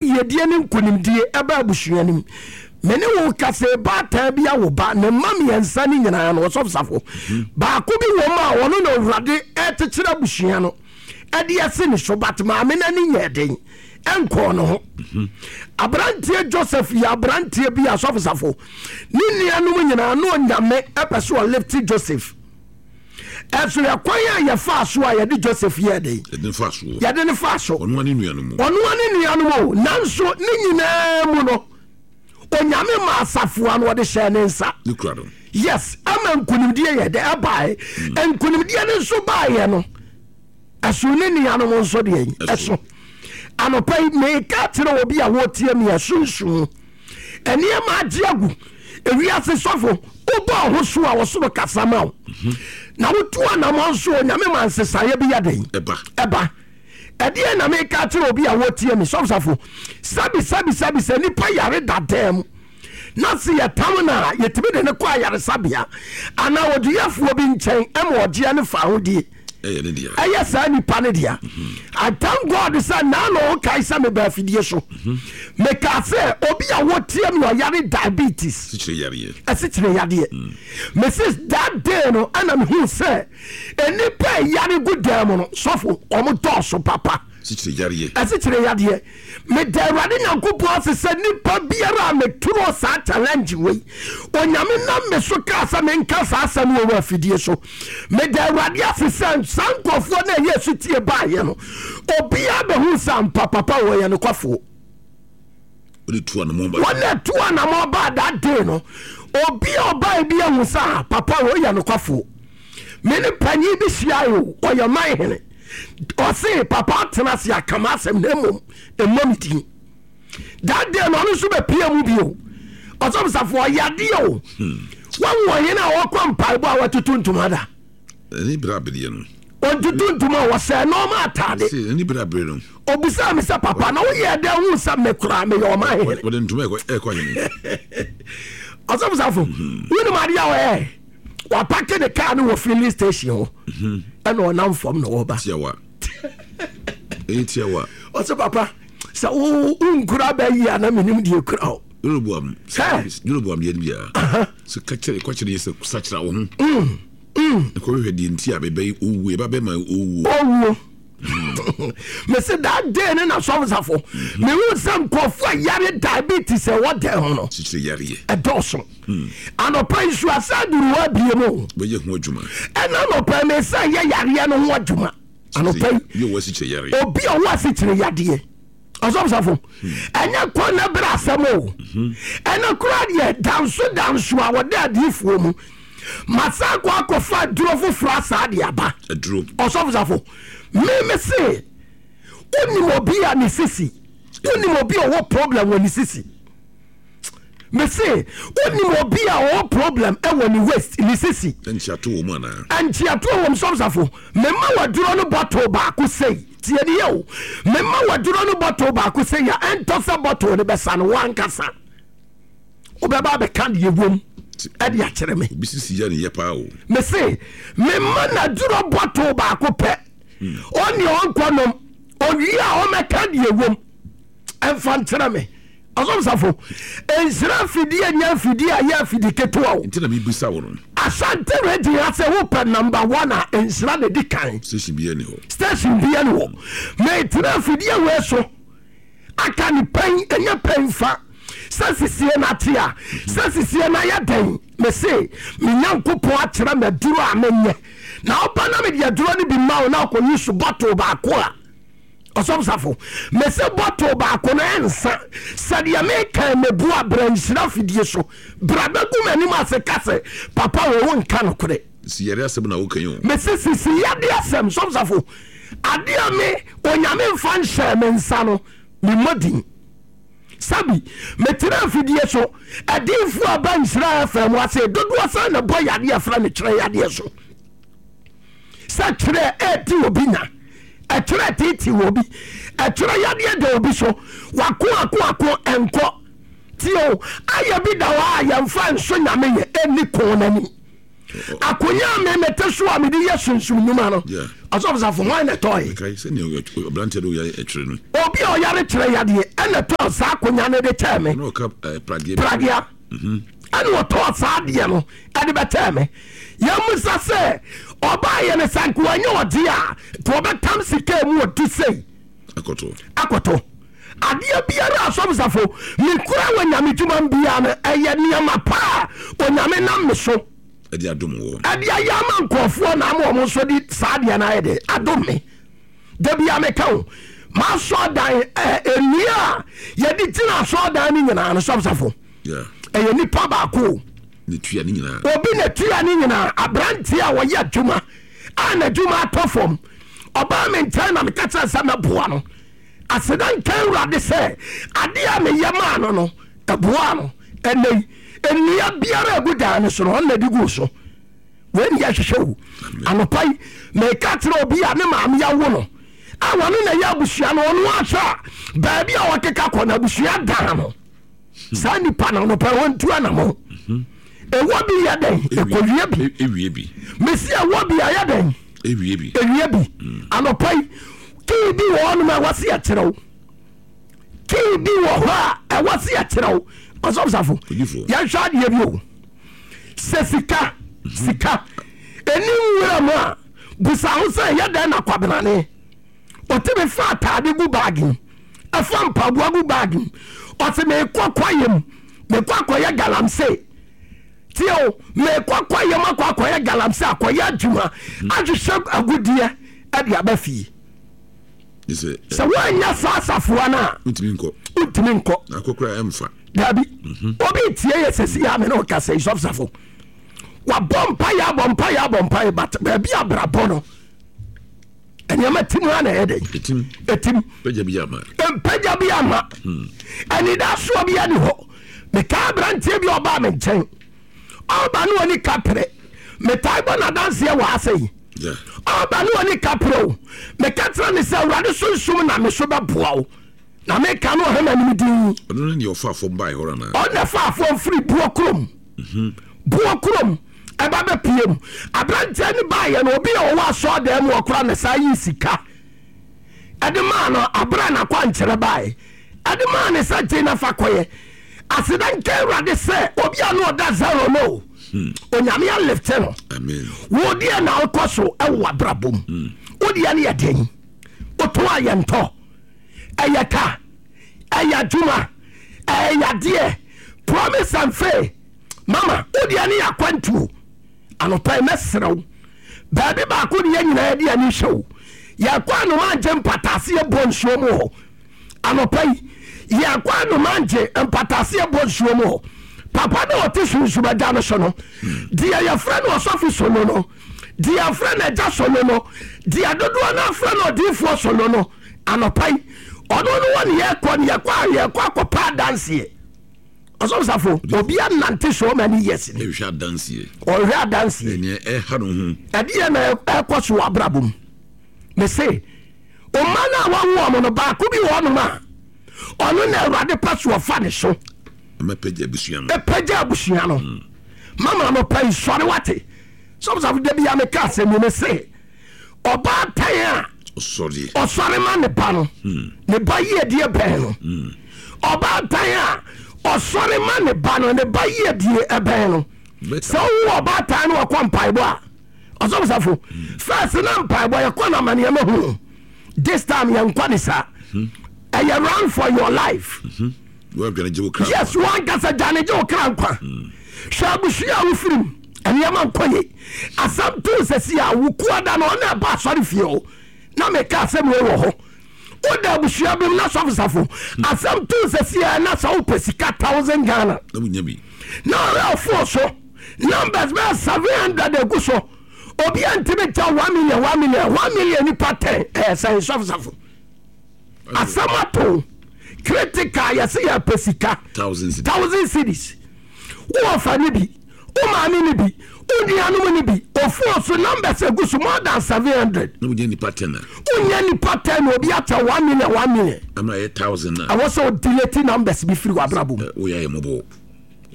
Yiedie ne nkonimdie ɛba abusua no mu. Me ne wo kasa yi, baatan bi awo ba, ne mma mmiɛnsa no nyinaa no, Ɔsɔfo Safo, baako bi wɔ mu a ɔno na Awurade ɛrekyekyere abusua no ɛde asi ne so, but maame no ani nyɛɛ den ɛnkɔɔ ne ho. Aberanteɛ Joseph yɛ aberanteɛ bi a Ɔsɔfo Safo, ne nuanom nyinaa na Onyame ɛpɛ sɛ ɔlifte Joseph. Ɛso yɛ kwan a yɛfaa so a yɛde Joseph yɛɛ dɛn? Yɛde no faa so. Yɛde no faa so. Ɔno ne nuanom mu. Ɔno ne nuanom o. Nanso ne nyinaa mu no, Onyame ma asafoa no ɔde hyɛɛ ne nsa. Ne kura no. Yes, ama nkonimdie yɛ dɛ ɛbaeɛ. Nkonimdie no nso baeɛ no, ɛso ne nuanom nso deɛ ɛso. Anɔpa yi meka kyerɛ obi a wɔtie me ɛso Nneɛma agye agu. Ewiase sɔfo, wobɔ wo ho so a ɔsoro kasa ma wo. Na wotu anammɔn nso Onyame ma nsesaeɛ bi yɛ den. Ɛba. Ɛba. Ɛdeɛn na meka akyerɛ obi a wɔtie me sɔfo safo? Sɛbi sɛbi sɛbi sɛ nipa yare da dan mu na se yɛtam no a yɛtumi de no kɔ ayaresabea anaa oduyɛfoɔ bi nkyɛn ma ɔgyeɛ no fa ahodie. Ɛyɛ ne dea. Ɛyɛ saa nipa no dea. I thank God sɛ naano wokae sɛ meba afidie so. Mekaa sɛ obi a wɔtie me ɔyare diabetes. Sikyire yareɛ. Ɛsikyire yadeɛ. Mrs that day no ɛna mehu sɛ nnipa ɛyare gu dan mu no sɔfo wɔn dɔɔso papa. Sikyire yareɛ. Ɛsikyire yadeɛ. Meda Awurade Nyankopɔn ase sɛ nipa biara a meturo saa challenge wei, Onyame nam me so kaa sɛ menka saa asɛm wɔ wɔ afidie so. Meda Awurade ase sɛ saa nkurɔfoɔ no a ɛyɛ sutie baeɛ no, obiara bɛhu sɛ ampa papa wɔyɛ nokwafoɔ. Wɔn a tu anamɔ baa that day no, obi a ɔbae bi ahu sɛ ah, papa wɔyɛ nokwafoɔ. Me ne panyin bi hyiae o, ɔyɛ man hene. Ɔse papa atena ase aka m'asɛm na mmom mmɔ me din. That day no ɔno nso bɛpie mu bio. Ɔsɔfosafo ɔyɛ adeɛ o. Wahu ɔhene a ɔkɔ mpaebɔ a watutu ntoma da. Ɛne berɛ abereɛ no. Ɔntutu ntoma wɔsɛɛ nɔɔma ataade. Ɛne berɛ abereɛ no. Ɔbisaa me sɛ papa na woyɛ dɛn hu sɛ me koraa meyɛ ɔman hene. Wɔde ntoma ɛkɔ hene. Ɔsɔfosafo wonim adeɛ a ɔyɛ. Wapake ne kaa no wɔ filling station hɔ ɛna ɔnam fam na ɔba. Tiawa. Ɛyɛ tiawa. Ɔsɛ papa sɛ wo wonkura bɛ yi a na menim deɛ kura o. Jeroboam. Jeroboam deɛ no biara. Sɛ ka kyerɛ kɔ kyerɛ yɛ sɛ sakyera wo ho. Ɛkɔhwehwɛ deɛ nti a bɛbɛ owuo ɛba bɛma owuo. Owuo. Mese that day ne na sɔfosafo mehu sɛ nkurɔfoɔ a yare diabetes ɛwɔ dɛn ho no ɛdɔɔso. Anɔpa yi so asa aduru hɔ abie mu. Bɛyɛ ho adwuma. Ɛna anɔpa yi mesa yɛ yareɛ no ho adwuma. Anɔpa yi obi a ɔwɔ asikyire yadeɛ ɔsɔfosafo ɛnyɛ kɔ na bere asɛm o. Ɛna kura deɛ danso danso a wɔde adiifoɔ mu. Masan kɔ akɔfa aduro foforɔ asaa de aba. Aduro. Ɔsɔfosafo, me me se, wonim obi a ne sisi, wonim obi a ɔwɔ problem wɔ ne sisi. Me se, wonim obi a ɔwɔ problem wɔ ne waist, ne sisi. Nkyiato wɔ mu anaa? Nkyiato wɔ mu, sɔfosafo. Mema waduro no bottle baako sei. Tie ni yɛ o. Mema waduro no bottle baako sei a, ɛntɔ sɛ bottle no bɛsa no, wankasa. Wobɛba abɛka deɛ ɛwom ɛde akyerɛ me. Obi sisi yɛ ne yɛ paa o. Mese mema n'aduro bɔtol baako pɛ. Ɔne ɔnkɔ nom owie a ɔmɛka deɛ ɛwom ɛmfa nkyerɛ me. Ɔsɔfosafo, nhyira afidie nyɛ afidie a ɛyɛ afidi ketewa o. Nti na mebisa wo no. Asante region ha sɛ wopɛ number one a nhyira na ɛdi kan. Station biara ni hɔ. Station biara ni hɔ. Metena afidie wei so. Aka ne pɛn ɛnyɛ pɛn fa sɛ sisie no ate a sɛ sisie no ayɛ dɛn mese me nyankopɔn akyerɛ me aduro a menyɛ na woba na mede aduro no bi ma wo na akɔyi so bɔtol baako a ɔsɔfosafo mese bɔtol baako no ɛnsa sɛdeɛ meka mebu a bra nhyira fidie so bra bɛgu m'anim ase ka sɛ papa wɔ wo nka nokorɛ. Sisi yare asɛm na woka yi o. Mese sisi yade asɛm sɔfosafo Adeɛ a me Onyame mfa nhyɛɛ me nsa no, memmɔ din. Sɛbi, metena afidie so, adiyifoɔ a ba Nhyira FM ase dodoɔ sɛn na ɛbɔ yadeɛ a ɛfrɛ no kyerɛ yadeɛ so? Sɛ kyerɛ ɛredi obi nya, ɛkyerɛ ɛteetee obi, ɛkyerɛ yadeɛ da obi so, wako ako ako ɛnkɔ. Tie o, ayɛ bi da hɔ a yɛmfa nso Nyame yɛ, ɛnni ko n'anim. Akonya a me mete so a mede yɛ sunsum nnwuma no, Ɔsɔfo Safo, hwan na ɛtɔe? Mekae sɛnea aberanteɛ no yare kyerɛ no. Obi a ɔyare kyerɛ yadeɛ ɛna ɛtɔɔ saa akonnwa no de kyɛɛ me. Ɛna ɔka eh, pradeɛ. Pradeɛ. Mhm. Ɛna ɔtɔɔ saa adeɛ no ɛde bɛkyɛɛ me. Yɛmmisa sɛ ɔbaayɛ no sɛ nka wanya ɔgye a nka ɔbɛtam sika mu ɔdu sei. Akɔtɔ. Akɔtɔ. Adeɛ biara a Ɔsɔfo Safo mekura wɔ nyame dwuma mu biara no ɛyɛ nneɛma pa a Onyame nam me so. Ɛde adom wɔ. Ɛde ayɛ ama nkurɔfoɔ na ama wɔn nso de saa adeɛ no ayɛ de adom me. Da bia meka o, m'asɔɔdan ɛ nnua a yɛde gyina asɔɔdan no nyinaa no sɔfosafo. Ɛyɛ nipa baako o. Ne tua ne nyinaa. Obi na tua ne nyinaa. Aberanteɛ a ɔyɛ adwuma a n'adwuma atɔ fam. Ɔbaa me nkyɛn na meka kyerɛ sɛ mɛboa no. Aseda nka Awurade sɛ adeɛ a meyɛ maa no no, ɛboaa no. Ɛnnɛ yi, nnua biara a ɛgu dan no so no, ɔno na ɛde guu so. Wei ne yɛhwehwɛ o. Anɔpa yi, meka kyerɛ obi a ne maame awo no, a wɔne na ɛyɛ abusua no, ɔno ahwɛ a baabi a ɔkeka kɔ no, abusua dan no. Saa nipa no, anɔpa yi, ɔntu anamɔ. Ɛwɔ bi yɛ dɛn? Ɛkɔwie bi. Ewie bi. Mesi ɛwɔ bi ayɛ dɛn? Ewie bi. Ewie bi. Anɔpa yi, kii bi wɔ hɔnom a ɛwɔ se yɛkyerɛ wo. Kii bi wɔ hɔ a ɛwɔ se yɛkyerɛ wo. Ɔsɔfosafo, yɛnhwɛ adeɛ bi o. Sɛ sika, sika, ɛni nwura mu a, busa ho sɛ ɛyɛ dɛn na kwabenane ɔtumi fa ataade gu baage mu, ɛfa mpaboa gu baage mu, ɔse mekɔ kwaeɛ mu, mekɔ akɔyɛ galamsey. Tie o, mekɔ kwaeɛ mu akɔ akɔyɛ galamsey, akɔyɛ adwuma, ahwehwɛ agudeɛ de aba fie. Sɛ woanyɛ saa asafoa no a, wontumi nkɔ. Wontumi nkɔ. Akɔkora ɛmfa. Dabi. Mhm. Obi tie yɛ sɛsi yɛ ame ne ɔkasa yi sɔfosafo. Wabɔ mpaeɛ abɔ mpaeɛ abɔ mpaeɛ but baabi abrabɔ no nneɛma tim ha na ɛyɛ dɛ. Etim. Etim. Mpagya bi ama. Mpagya bi ama. Hmm. Anidasoɔ bi ani hɔ. Mekaa aberanteɛ bi a ɔbaa me nkyɛn. Ɔba ne ɔni kaprɛ. Metaa bɔ n'adanseɛ wɔ ha sɛ yi. Ɔba ne ɔni kaprɛ o. Meka kyerɛ ne sɛ Awurade sunsum na me so bɛboa wo. Na meka no ɔhɛ m'anim din. Ɔno ne deɛ ɔfaa fam baeɛ hɔ anaa? Ɔno na ɛfaa fam firi buo kurom. Mhm. Buo kurom ɛba bɛpie mu. Aberanteɛ no baeɛ no obi a ɔwɔ asɔɔdan mu ɔkora na saa yi sika. Ɛde maa no abere a n'akwankyerɛ baeɛ. Ɛde maa ne sɛ gye na fa kɔyɛ. Aseda nka Awurade sɛ obi a na ɔda zero no hmm. Onyame alifte no. Wo deɛ na wokɔ so ɛwɔ w'abrabɔ mu. Hmm. Wo deɛ no yɛ den. Wotɔn a yɛntɔ. Ɛyɛ ka. Ɛyɛ adwuma. Ɛyɛ yadeɛ. Promise and faith. Mama, wo deɛ no yɛ akwantuo. Anɔpa yi mɛsrɛ wo. Baabi baako ne yɛn nyinaa yɛde ani hwɛ o. Yɛkɔ anoma ngye mpataase yɛbɔ nsuo mu hɔ. Anɔpa yi, yɛkɔ anoma ngye mpataase yɛbɔ nsuo mu hɔ. Papa no a ɔte sunsum agya no so no, deɛ yɛfrɛ no ɔsɔfo sono no, deɛ yɛfrɛ no agya sono no, deɛ dodoɔ no afrɛ no odiyifoɔ sono no, anɔpa yi, ɔno no wɔ ne yɛkɔ ne yɛkɔ a yɛkɔ akɔpa adanseɛ. Ɔsɔfo Safo, obi anante so many years ni. Ɛhwɛ adanseɛ. Ɔhwɛ adanseɛ. Ɛnea ɛha no ho. Ɛdeɛ na ɛkɔ so wɔ abrabɔ mu. Mese, ɔma no a wawo wɔn no baako bi wɔ hɔnom a ɔno na Awurade pɛ so ɔfa ne so. Ɛmɛpɛgya abusua no. Ɛpɛgya abusua no. Hmm. Mama no pɛ nsɔre wate. Sɔfo Safo, da bi a meka asɛm yi mese, ɔbaatan a ɔsɔre ma ne ba no hmm. ne ba yiedie bɛn no hmm. ɔbaatan a ɔsɔre ma ne ba no ne ba yiedie ɛbɛn no sɛ wowo ɔbaatan no ɔkɔ mpaebɔ a ɔsɔfosafo hmm. first na mpaebɔ yɛkɔ no amanneɛma hu this time yɛnkɔ ne saa ɛyɛ run for your life mhm. Yes, wankasa dwane gye wo kra nkwa. Hwɛ abusua a wofiri mu, nneɛma nkɔ ye. Asɛm too sɛsi a wo kuada no ɔna ɛba asɔre fie o. Na meka asɛm wei wɔ hɔ. Woda abusua bi mu na sɔfo safo. Asɛm too sɛsi a na sɛ wopɛ sika thousand Ghana. Na wonya bi. Na ɔrɛ ɔfo so numbers bɛyɛ 700 egu so. Obi a ntumi nkyɛ 1 million 1 million 1 million nipa 10 ɛyɛ sɛn sɔfo safo. Asɛm ato critical yɛse yɛpɛ sika thousand cities wo ɔfa ne bi wo maame ne bi wo nuanom ne bi ofuo so numbers egu so more than 700 na wonya nipa 10 a wonya nipa 10 obi akyɛ 1 million 1 million ama ɛyɛ 1000 a ɛwɔ sɛ o delete numbers bi firi w'abrabɔ mu woyɛ ayɛ mmɔbɔ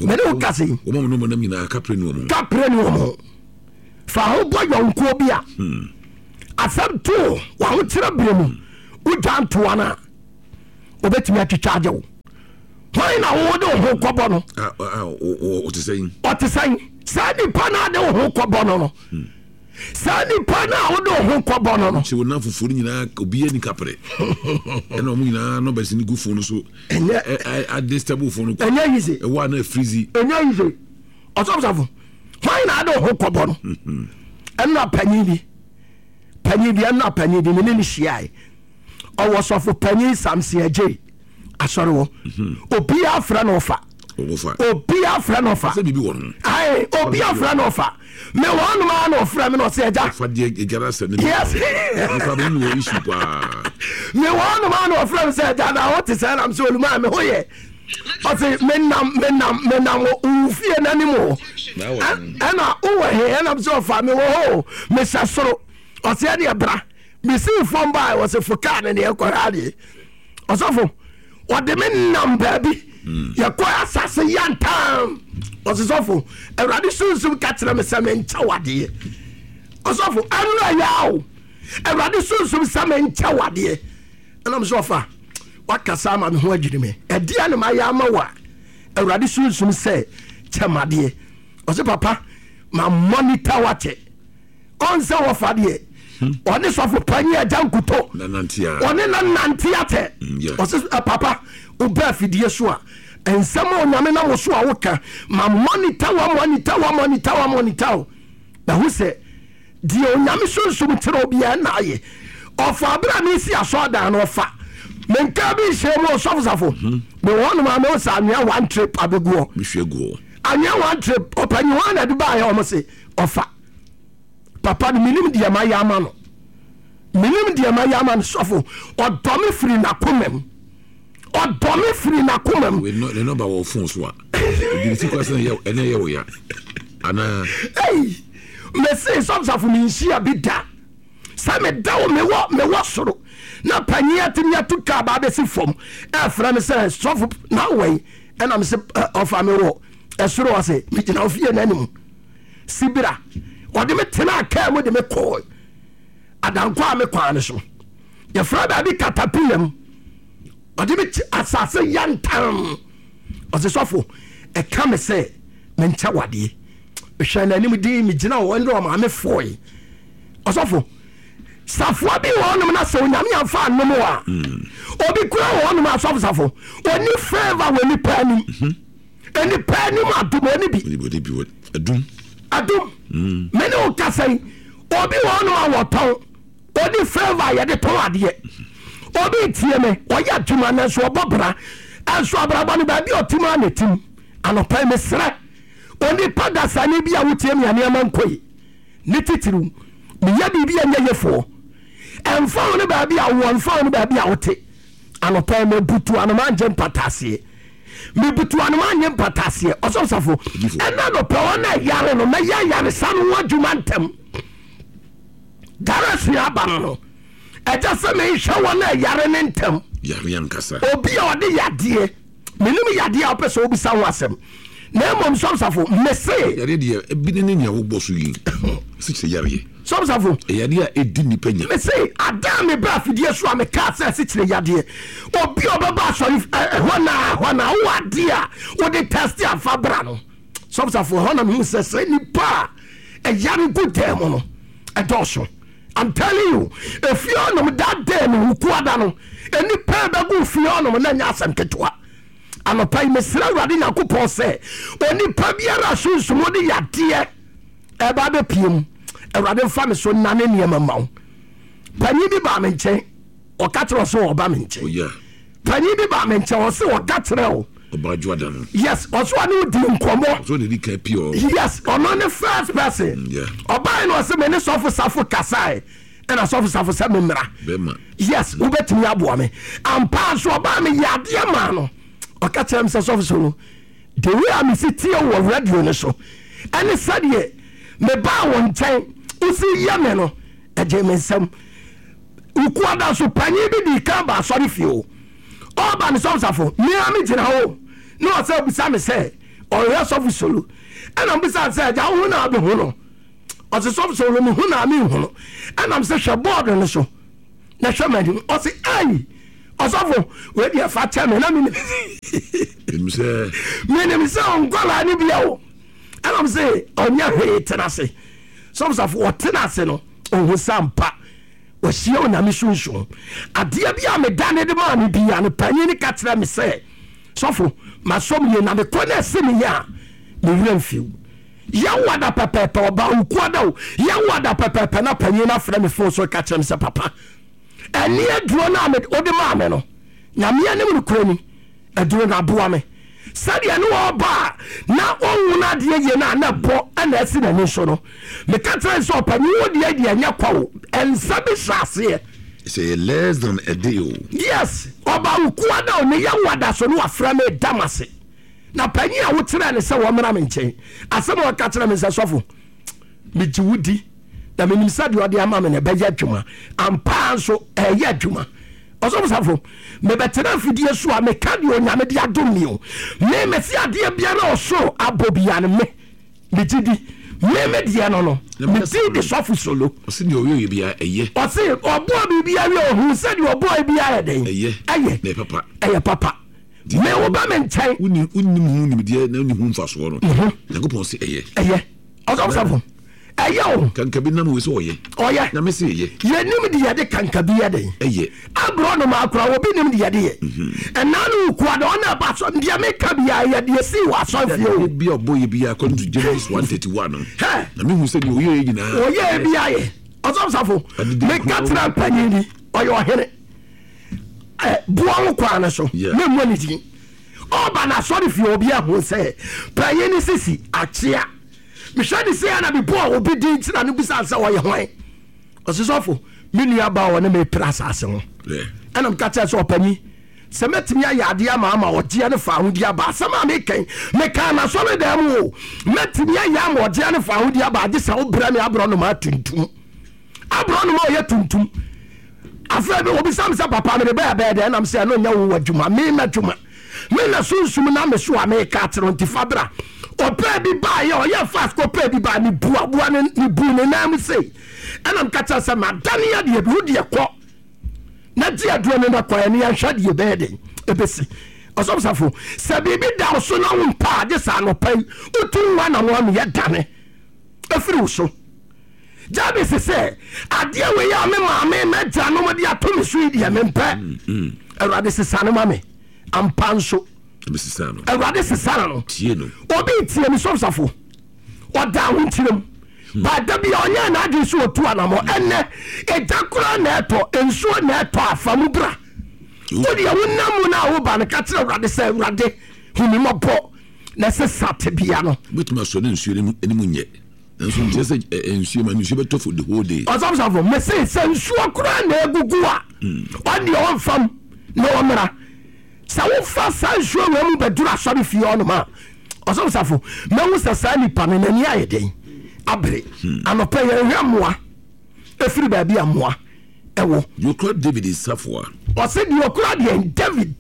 mene wo kase yi wɔn mu nam nyinaa kapre ne wɔn kapre ne wɔn fa ho bɔ yɔnkoɔ bi a hmm. Asɛm too w'ahokyerɛ berɛ mu, wodwa ntoa no a, obɛtumi atwitwa agye wo. Hwan na wode wo ho kɔbɔ no? Ɔte sɛn? Ɔte sɛn? Saa nipa no a de wo ho kɔbɔ no no. Saa nipa no a wode wo ho kɔbɔ no no. Sɛ wo namfofoɔ no nyinaa obiara ni kaprɛ. Ɛna wɔn nyinaa nɔbɛs no gu fon no so. Ɛnyɛ adestable fon no. Ɛnyɛ easy. Ɛwɔ a na afirizi. Ɛnyɛ easy. Ɔsɔfosɔfo, hwan na ade wo ho kɔbɔ no? Ɛnna panyin bi, panyin bi, ɛnna panyin bi, me ne no hyiae. Ɔwɔ sɔfo panyin Samson Agyei asɔre hɔ. Obiara frɛ no ɔfa. Obiara frɛ no ɔfa. Ae, obiara frɛ no ɔfa. Me wɔ hɔnom ara na ɔfrɛ me na ɔsɛ agya. Yes. Me wɔ hɔnom ara na ɔfrɛ me sɛ agya na wote sɛ nam sɛ olumaa me ho yɛ. Ɔse menam menam menam wo fie n'anim hɔ. Ɛna wowɔ he ɛnam sɛ ɔfa me wɔ hɔ o mehyɛ soro. Ɔse ɛneɛ bra. Mesii fam bae ɔse fo kaa no neɛ kɔhwɛ adeɛ. Ɔsɔfo ɔde me nam baabi yɛkɔ asase yantam. Ɔse sɔfo Awurade sunsum ka kyerɛ me sɛ menkyɛ wo adeɛ. Ɔsɔfo ɛno ɛyɛ o. Awurade sunsum sɛ menkyɛ wo adeɛ. Ɛna me sɛ ɔfa wakasa ama me ho adwiri me. Ɛdeɛ na mayɛ ama wo a Awurade sunsum sɛ kyɛ m'adeɛ. Ɔse papa ma monitor wakyɛ. Ɔnsɛ wɔfa deɛ ɔne sɔfo panyin agya nkuto ɔne na nante atɛ. Ɔse eh, papa wobɛ afidie so a nsɛm a onyame nam wo so a woka ma monitor wa monitor wa monitor wa monitor wo. Mahu sɛ Deɛ Onyame sunsum kyerɛ obiara na ayɛ. Ɔfa abere a mesi asɔɔdan no ɔfa. Menkaa bi nhyɛ mu ɔsɔfo safo. Mhm. Mewɔ hɔnom a mehu sɛ anwea one trip abɛgu hɔ. Mehwɛ gu hɔ. Anwea one trip ɔpanyin hɔ na ɛde baayɛ wɔn se ɔfa. Papa no menim deɛ mayɛ ama no. Menim deɛ mayɛ ama no sɔfo. Ɔdɔ me firi n'akoma mu. Ɔdɔ me firi n'akoma mu. Ne nɔmba wɔ fon so a. Ebi ne ti kura sɛ ɛnɛ yɛ wo ya. Anaa. Ei, mese sɔfsafo menhyia bi da. Sɛ meda wo mewɔ mewɔ soro na panyin atumi atu kaa ba abɛsi fam ɛfrɛ me sɛ sɔfo na wɔ yi ɛna mese ɔfa me wɔ ɛsoro ɔse megyina wo fie n'anim sibira ɔde me tenaa kaa mu de me kɔɔ adankɔ a me kwan no so. Yɛfrɛ baabi katapila mu. Ɔde me asase yantam. Ɔse sɔfo, ɛka me sɛ menkyɛ wadeɛ. Mehwɛ n'anim din megyina hɔ ɛne ɔmaame foe. Ɔsɔfo, safoa bi wɔ hɔnom na sɛ onyame amfa anom a, obi kura wɔ hɔnom a sɔfo safo, ɔni favor wɔ nipa anim. Nipa anim adom ɔni bi. Adum. Adum. Me ne wo kasa yi, obi wɔ hɔnom a wɔtɔn. Ɔni favour a yɛde tɔn adeɛ. Obi retie me, ɔyɛ adwuma nanso ɔbɔ bra. Ɛnso abrabɔ no baabi a ɔtim ara na ɛtim. Anɔpa yi mesrɛ onipa dasani bi a wotie me a nneɛma nkɔ yi, ne titiriw meyɛ biribi a ɛnyɛ yefoɔ. Ɛmfa ho ne baabi a wowɔ, ɛmfa ho ne baabi a wote. Anɔpa yi mebutu anoma ngye mpataaseɛ. Mebutu anoma nye mpataaseɛ. Ɔsɔfo Safo, ɛna anɔpa wɔn a ɛyare no, mɛyɛ ayaresa no ho adwuma ntɛm. Darasua aba no no, ɛgya sɛ menhwɛ wɔn a ɛyare ne ntɛm. Yare ankasa. Obi a ɔde yadeɛ, menim yadeɛ a wopɛ sɛ wobisa ho asɛm, na mmom sɔmsafo, mese. Yareɛ deɛ, ebi ne ne nea wobɔ so yi, asikyire yareɛ. Sɔmsafo. Yadeɛ a ɛdi nnipa nya. Mese, ada a meba afidie so a mekaa sɛ asikyire yadeɛ, obi a ɔbɛba asɔre ɛhɔ na ɛhɔ na wowɔ adeɛ a wode tɛste afa bra no. Sɔmsafo, ɛhɔ na mehu sɛ sɛ nipa a ɛyare gu dan mu no ɛdɔɔso. I'm telling you, efie hɔnom that day no wukuada no, nnipa ɛbɛgu fie hɔnom na ɛnyɛ asɛm ketewa. Anɔpa yi mesrɛ Awurade Nyankopɔn sɛ onipa biara sunsum de yadeɛ ɛba abɛpie mu, Awurade mfa me so nane nneɛma ma wo. Panyin bi baa me nkyɛn, ɔka kyerɛ ɔsɛ ɔba me nkyɛn. Oh, Panyin bi baa me nkyɛn ɔse ɔka kyerɛ o. Ɔbaa Dwoada no. Yes, ɔse ɔne wo di nkɔmmɔ. Ɔse ɔna edi kan pie hɔ. Yes, ɔno ne first person. Mm, yeah. Ɔbae no ɔse me ne sɔfo Safo kasae ɛna sɔfo Safo sɛ me mmra. Bɛma. Yes, wobɛtumi aboa me. Ampa nso ɔbaa me yɛ adeɛ maa no. Ɔka kyerɛ me sɛ sɔfo Solo, the way a mesi tie wo wɔ radio no so ɛne sɛdeɛ mebaa wo nkyɛn wosi yɛ me no ɛgyee me nsam. Wukuada so panyin bi dii kan baa asɔrefie o. Ɔreba no sɔfo safo, me ara megyina hɔ o, na ɔsan bisa me sɛ ɔrehwɛ sɔfo Solo. Ɛna mebisa no sɛ, agya wohu no a wobɛhu no? Ɔse sɔfo sɛ ɔno mehu na menhu no. Ɛnam sɛ hwɛ bɔɔdo no so na hwɛ m'anim. Ɔse ei ɔsɔfo wei deɛ fa kyɛ me na menim sɛ menim sɛ ɔnkɔlaa no bia o. Ɛnam sɛ ɔnyɛ hwee tena ase. Sɔfo safo ɔtena ase no ɔhu sɛ ampa wahyia Onyame sunsum. Adeɛ bi a medane de maa no bia no panyin no ka kyerɛ me sɛ sɔfo masɔm yie na mekɔ na ɛse me yɛ a me werɛ mfiw. Yɛwo ada pɛpɛɛpɛ, ɔbaa Ukua da o, yɛwo ada pɛpɛɛpɛ na panyin no afrɛ me fon so reka kyerɛ me sɛ papa, ɛne aduro no a wode maa me no, Nyame anim nokorɛ ni, aduro no aboa me. Sɛdeɛ ne ɔreba a na ɔnhunu adeɛ yie no a na ɛbɔ na asi n'ani so no, meka kyerɛ no sɛ ɔpanyin wo deɛ deɛ ɛnyɛ kwa o, nsa bi hyɛ aseɛ. Sɛ yɛ less than a day o. Yes, ɔbaa Ukua da o, ne yɛwo ada so no wafrɛ me da m'ase. Na panyin a wokyerɛɛ no sɛ wɔmmra me nkyɛn, asɛm a ɔka kyerɛɛ me sɛ, Sɔfo, megye wo di, na menim sɛ deɛ ɔde ama me no ɛbɛyɛ adwuma. Ampa ara nso, ɛreyɛ adwuma. Ɔsɔfo Safo, mebɛtena afidie so a meka deɛ Onyame de adom me o. Me, mese adeɛ biara a ɔsoro abɔ biara no, me, megye di. Me, me deɛ no no, me din de Sɔfo Solo. Ɔse deɛ ɔyɛeɛ biara, ɛyɛ. Ɔse ɔbɔɔ biribiara wie, ɔhuu sɛ deɛ ɔbɔeɛ biara yɛ dɛn? Ɛyɛ. Ɛyɛ. Na ɛyɛ papa. Ɛyɛ papa. Me wo ba me nkyɛn. Wonni wonnim ho nimdeɛ na wonni ho mfasoɔ no. Mhm. Nyankopɔn se ɛyɛ. Ɛyɛ. Ɔsɔfo ɛyɛ o. Kankabi nam wei sɛ ɔyɛ. Ɔyɛ. Nyame se ɛyɛ. Yɛnim de yɛde kankabi yɛ den. Ɛyɛ. Aborɔ nom akora obi nim de yɛde yɛ. Mhm. Ɛnaa no wokua de ɔna ɛba so deɛ meka biara yɛ deɛ sii wɔ asɔrefie o. Bi a ɔbɔ yɛ biara according to Genesis 1:31 no. Hɛ. Na mehu sɛ deɛ ɔyɛ yɛ nyinaa. Ɔyɛ bi ayɛ. Ɔsɔfo safo. Meka kyerɛ panyin bi ɔyɛ ɔhene. boa wo kwan no so memmɔ ne din ɔba n'asɔre fie obi ahu sɛ panyin ne sisi akyea mehwɛ ne sɛ na mebɔɔ obi din nti na no bisa sɛ ɔyɛ hwan ɔse sɔfo me nua ba ɔne mepere asase ho ɛna meka kyerɛ sɛ ɔpanyin sɛ mɛtumi ayɛ adeɛ ama ama ɔgyeɛ ne fa ahodi aba asɛm a mekɛn mekaa n'asɔre dan mu o mɛtumi ayɛ ama ɔgyeɛ ne fa ahodi aba agye sɛ wobrɛ me aborɔ noma tuntum Aborɔnoma a ɔyɛ tuntum. Afei bi obisa me sɛ papa mede bɛyɛ bɛyɛ dɛn nam sɛ ɛno nyɛ wo adwuma me m'adwuma me na sunsum na me so a meka akyerɛ nti fa bra ɔpɛɛ bi baayɛ ɔyɛ fast kɔpɛɛ bi baa mebu aboa ne mebu ne nan mu sei ɛna meka kyerɛ sɛ madane adeɛ bi wo deɛ kɔ na gye aduro no na kɔ ɛne yɛnhwɛ deɛ bɛyɛ den ɛbɛsi ɔsɔfosafo sɛ biribi da wo so na wo mpa agye saa anɔpa yi wotu nwa na no ameyɛ dane ɛfiri wo so Jabez sɛ, Adeɛ wei a me maame m'agyanom de ato me so yi deɛ mempɛ. Mm, mm. Awurade sesa no ma me. Ampa nso. Awurade sesa no. Obi tie me sɔfsafo. Ɔda ahokyerɛ mu. Hmm. Baada bi a ɔnyɛ n'adwene so ɔtu anamɔ. Ɛnɛ egya koraa na ɛtɔ, nsuo na ɛtɔ afa mu bra. Wodeɛ wonam mu no a woba no ka kyerɛ Awurade sɛ Awurade hu me mmɔbɔ na sesa tebea no. Wobɛtumi asɔ ne nsuo no anim nyɛ. Nanso nkyerɛ sɛ nsuo ma nsuo bɛtɔ for the whole day. Ɔsɔfosɔfo mese sɛ nsuo koraa na egugu a ɔndeɛ ɔnfam na ɔmmra. Sɛ wofa saa nsuo wei mu bɛduru asɔre fie hɔnom a ɔsɔfosɔfo mɛhu sɛ saa nipa no n'ani ayɛ den abere. Anɔpɛ yɛnhwɛ mmoa efiri baabi a mmoa ɛwɔ. Deɛ ɔkura David nsafoa. Ɔse deɛ ɔkura deɛ David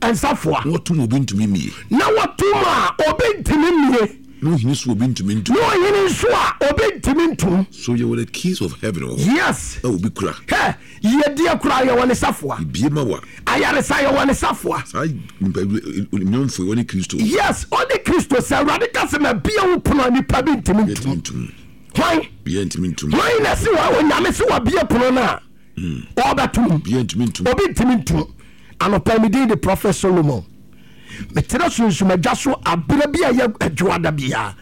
nsafoa. Na wɔtom obi ntumi mmie. Na wɔtom a obi ntumi mmie. Na ɔhene so obi ntumi ntom. Na ɔhene nso a obi ntumi ntom. So yɛwɔ the keys of heaven wɔ hɔ. Yes. A obi kura. Hɛ, yiedie koraa yɛwɔ ne safoa. Ebie ma wa. Ayaresa yɛwɔ ne safoa. Saa nipa nyɔnfo yi ɔne Kristo. Yes, ɔne Kristo. Sɛ Awurade ka sɛ mabie wo pono a nipa bi ntumi ntom. Hwan? Bia ntumi ntum. Hwan na si wa onyame si wabie pono no a hmm. ɔbɛtom? Bia ntumi ntum. Obi ntumi ntum. Anɔpa mi din de Prophet Solomon. Mekyerɛ sunsum adwa so abere bi a ɛyɛ adwoada biara.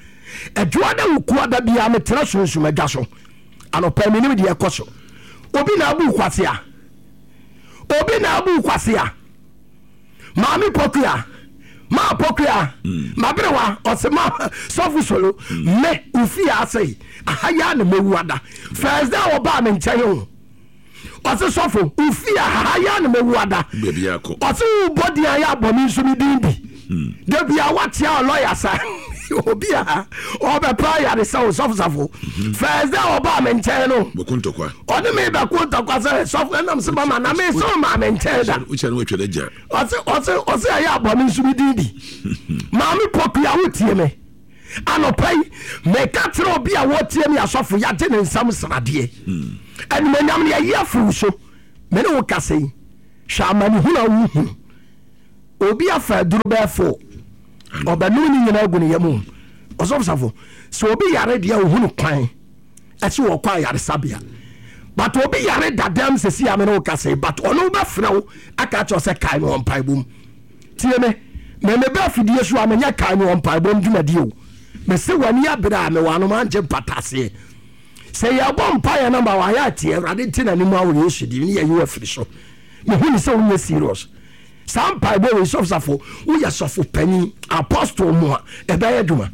Adwoada wukuada biara mekyerɛ sunsum adwa so. Anɔpa mi nim deɛ ɛkɔ so. Obi na abu kwasea. Obi na abu kwasea. Maame Pokuya, Maa Pokuya, mm. Maberewa, ɔse ma sɔfo solo, mm. me ofie ase aha yi a na mewu ada. First day ɔbaa me nkyɛn o. Ɔse sɔfo, ofie aha yi a na mewu ada. Ɔse wobɔ din ayɛ abɔ me nso me din bi. Hmm. Da bia wakyea lɔya sa. Obi a ɔbɛpɛ ayaresa o sɔfo safo. Hmm. First day ɔbaa me nkyɛn no. Ɔne me bɛko ntɔkwa sɛ sɔfo ɛnam sɛ mama na me sɛ ɔmaa me nkyɛn da. Ɔse ɔse ɔse ɛyɛ abɔ me nso me din bi. Maame Pokuya wotie me. Anɔpa yi, meka kyerɛ obi a wɔtie me asɔfo, yɛagye ne nsam sradeɛ. Animonyam no yɛyi afiri wo so. Me ne wo kasa yi, hwɛ amanehunu a wohunu. Obi afa aduro bɛyɛ fo, ɔbɛnom ne nyinaa agu ne yam. Ɔsɔfo safo, sɛ obi yare deɛ ohunu kwan ɛsɛ wɔkɔ ayaresabea. But obi yare dadam sɛsi a me ne wo kasa yi, but ɔno wobɛfrɛ wo aka akyerɛ sɛ kae no wɔ mpaebɔ mu. Tie me, me meba afidie so a menyɛ kae me wɔ mpaebɔ mu dwumadie o. Mese w'ani abere a mewɔ anom angye mpataseɛ. Sɛ yɛbɔ mpaeɛ na ma wayɛ atie Awurade nte n'anim a wɔ Yesu din ne yɛyi wo afiri so. Mehu ne sɛ wonyɛ serious. Saa mpaebɔ wei sɔfo safo woyɛ sɔfo panyin apostle mu a ɛbɛyɛ adwuma.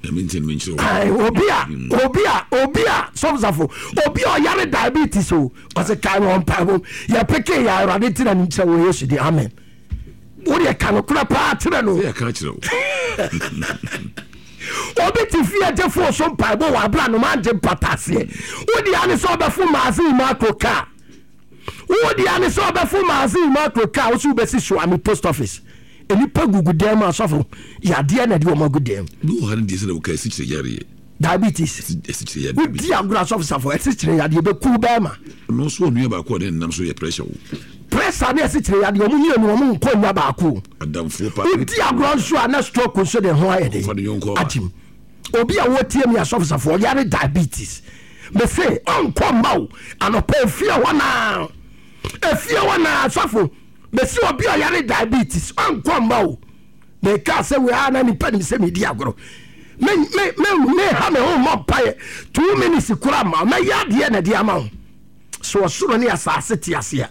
Obi a obi a obi a sɔfo safo obi a ɔyare diabetes o ɔsɛ kae me wɔ mpaebɔ mu yɛpeke yɛ Awurade nte n'anim kyerɛ wɔ Yesu din amen. Wodeɛ ka nokorɛ paa kyerɛ no. Obi te fie gye fo so mpaebɔ wɔ abira no mangye mpataseɛ. Wodeɛ ane sɛ ɔbɛfo maase makro kaa. Wodeɛ ane sɛ ɔbɛfo maase makro kaa wo so wobɛsi Suame post office. Nnipa gugu dan mu asɔfo yadeɛ na ɛde wɔn agu dan mu. Bi wɔ ha no deɛ sɛ na wɔka asikyire yareɛ. Diabetes. Asikyire yadeɛ. Wodi agorɔ asɔfo safo asikyire yadeɛ bɛku bɛrima. Ɔno nso ɔnua baako a ɔne ne nam so yɛ pressure o. Pressure ne asikyire yadeɛ ɔmo mmienu ɔmo nkɔ nnya baako o. Adamfoɔ pa. Wodi agorɔ nso a na stroke nso de ho ayɛ den. Ɔfa ne yɔnko aba. Agyim. Obi a wɔtie mi asɔfo safo ɔyare diabetes. Mese ɔnkɔ mma o anɔpa efie hɔ naa efie hɔ naa asɔfo mese obi a ɔyare diabetes ɔnkɔ mma o. Meka sɛ wei a na nipa nim sɛ medi agorɔ. Me me me me ha me ho mmɔ mpaeɛ 2 minutes kora ma mɛyɛ adeɛ na ɛde ama wo. So ɔsoro ne asase te ase a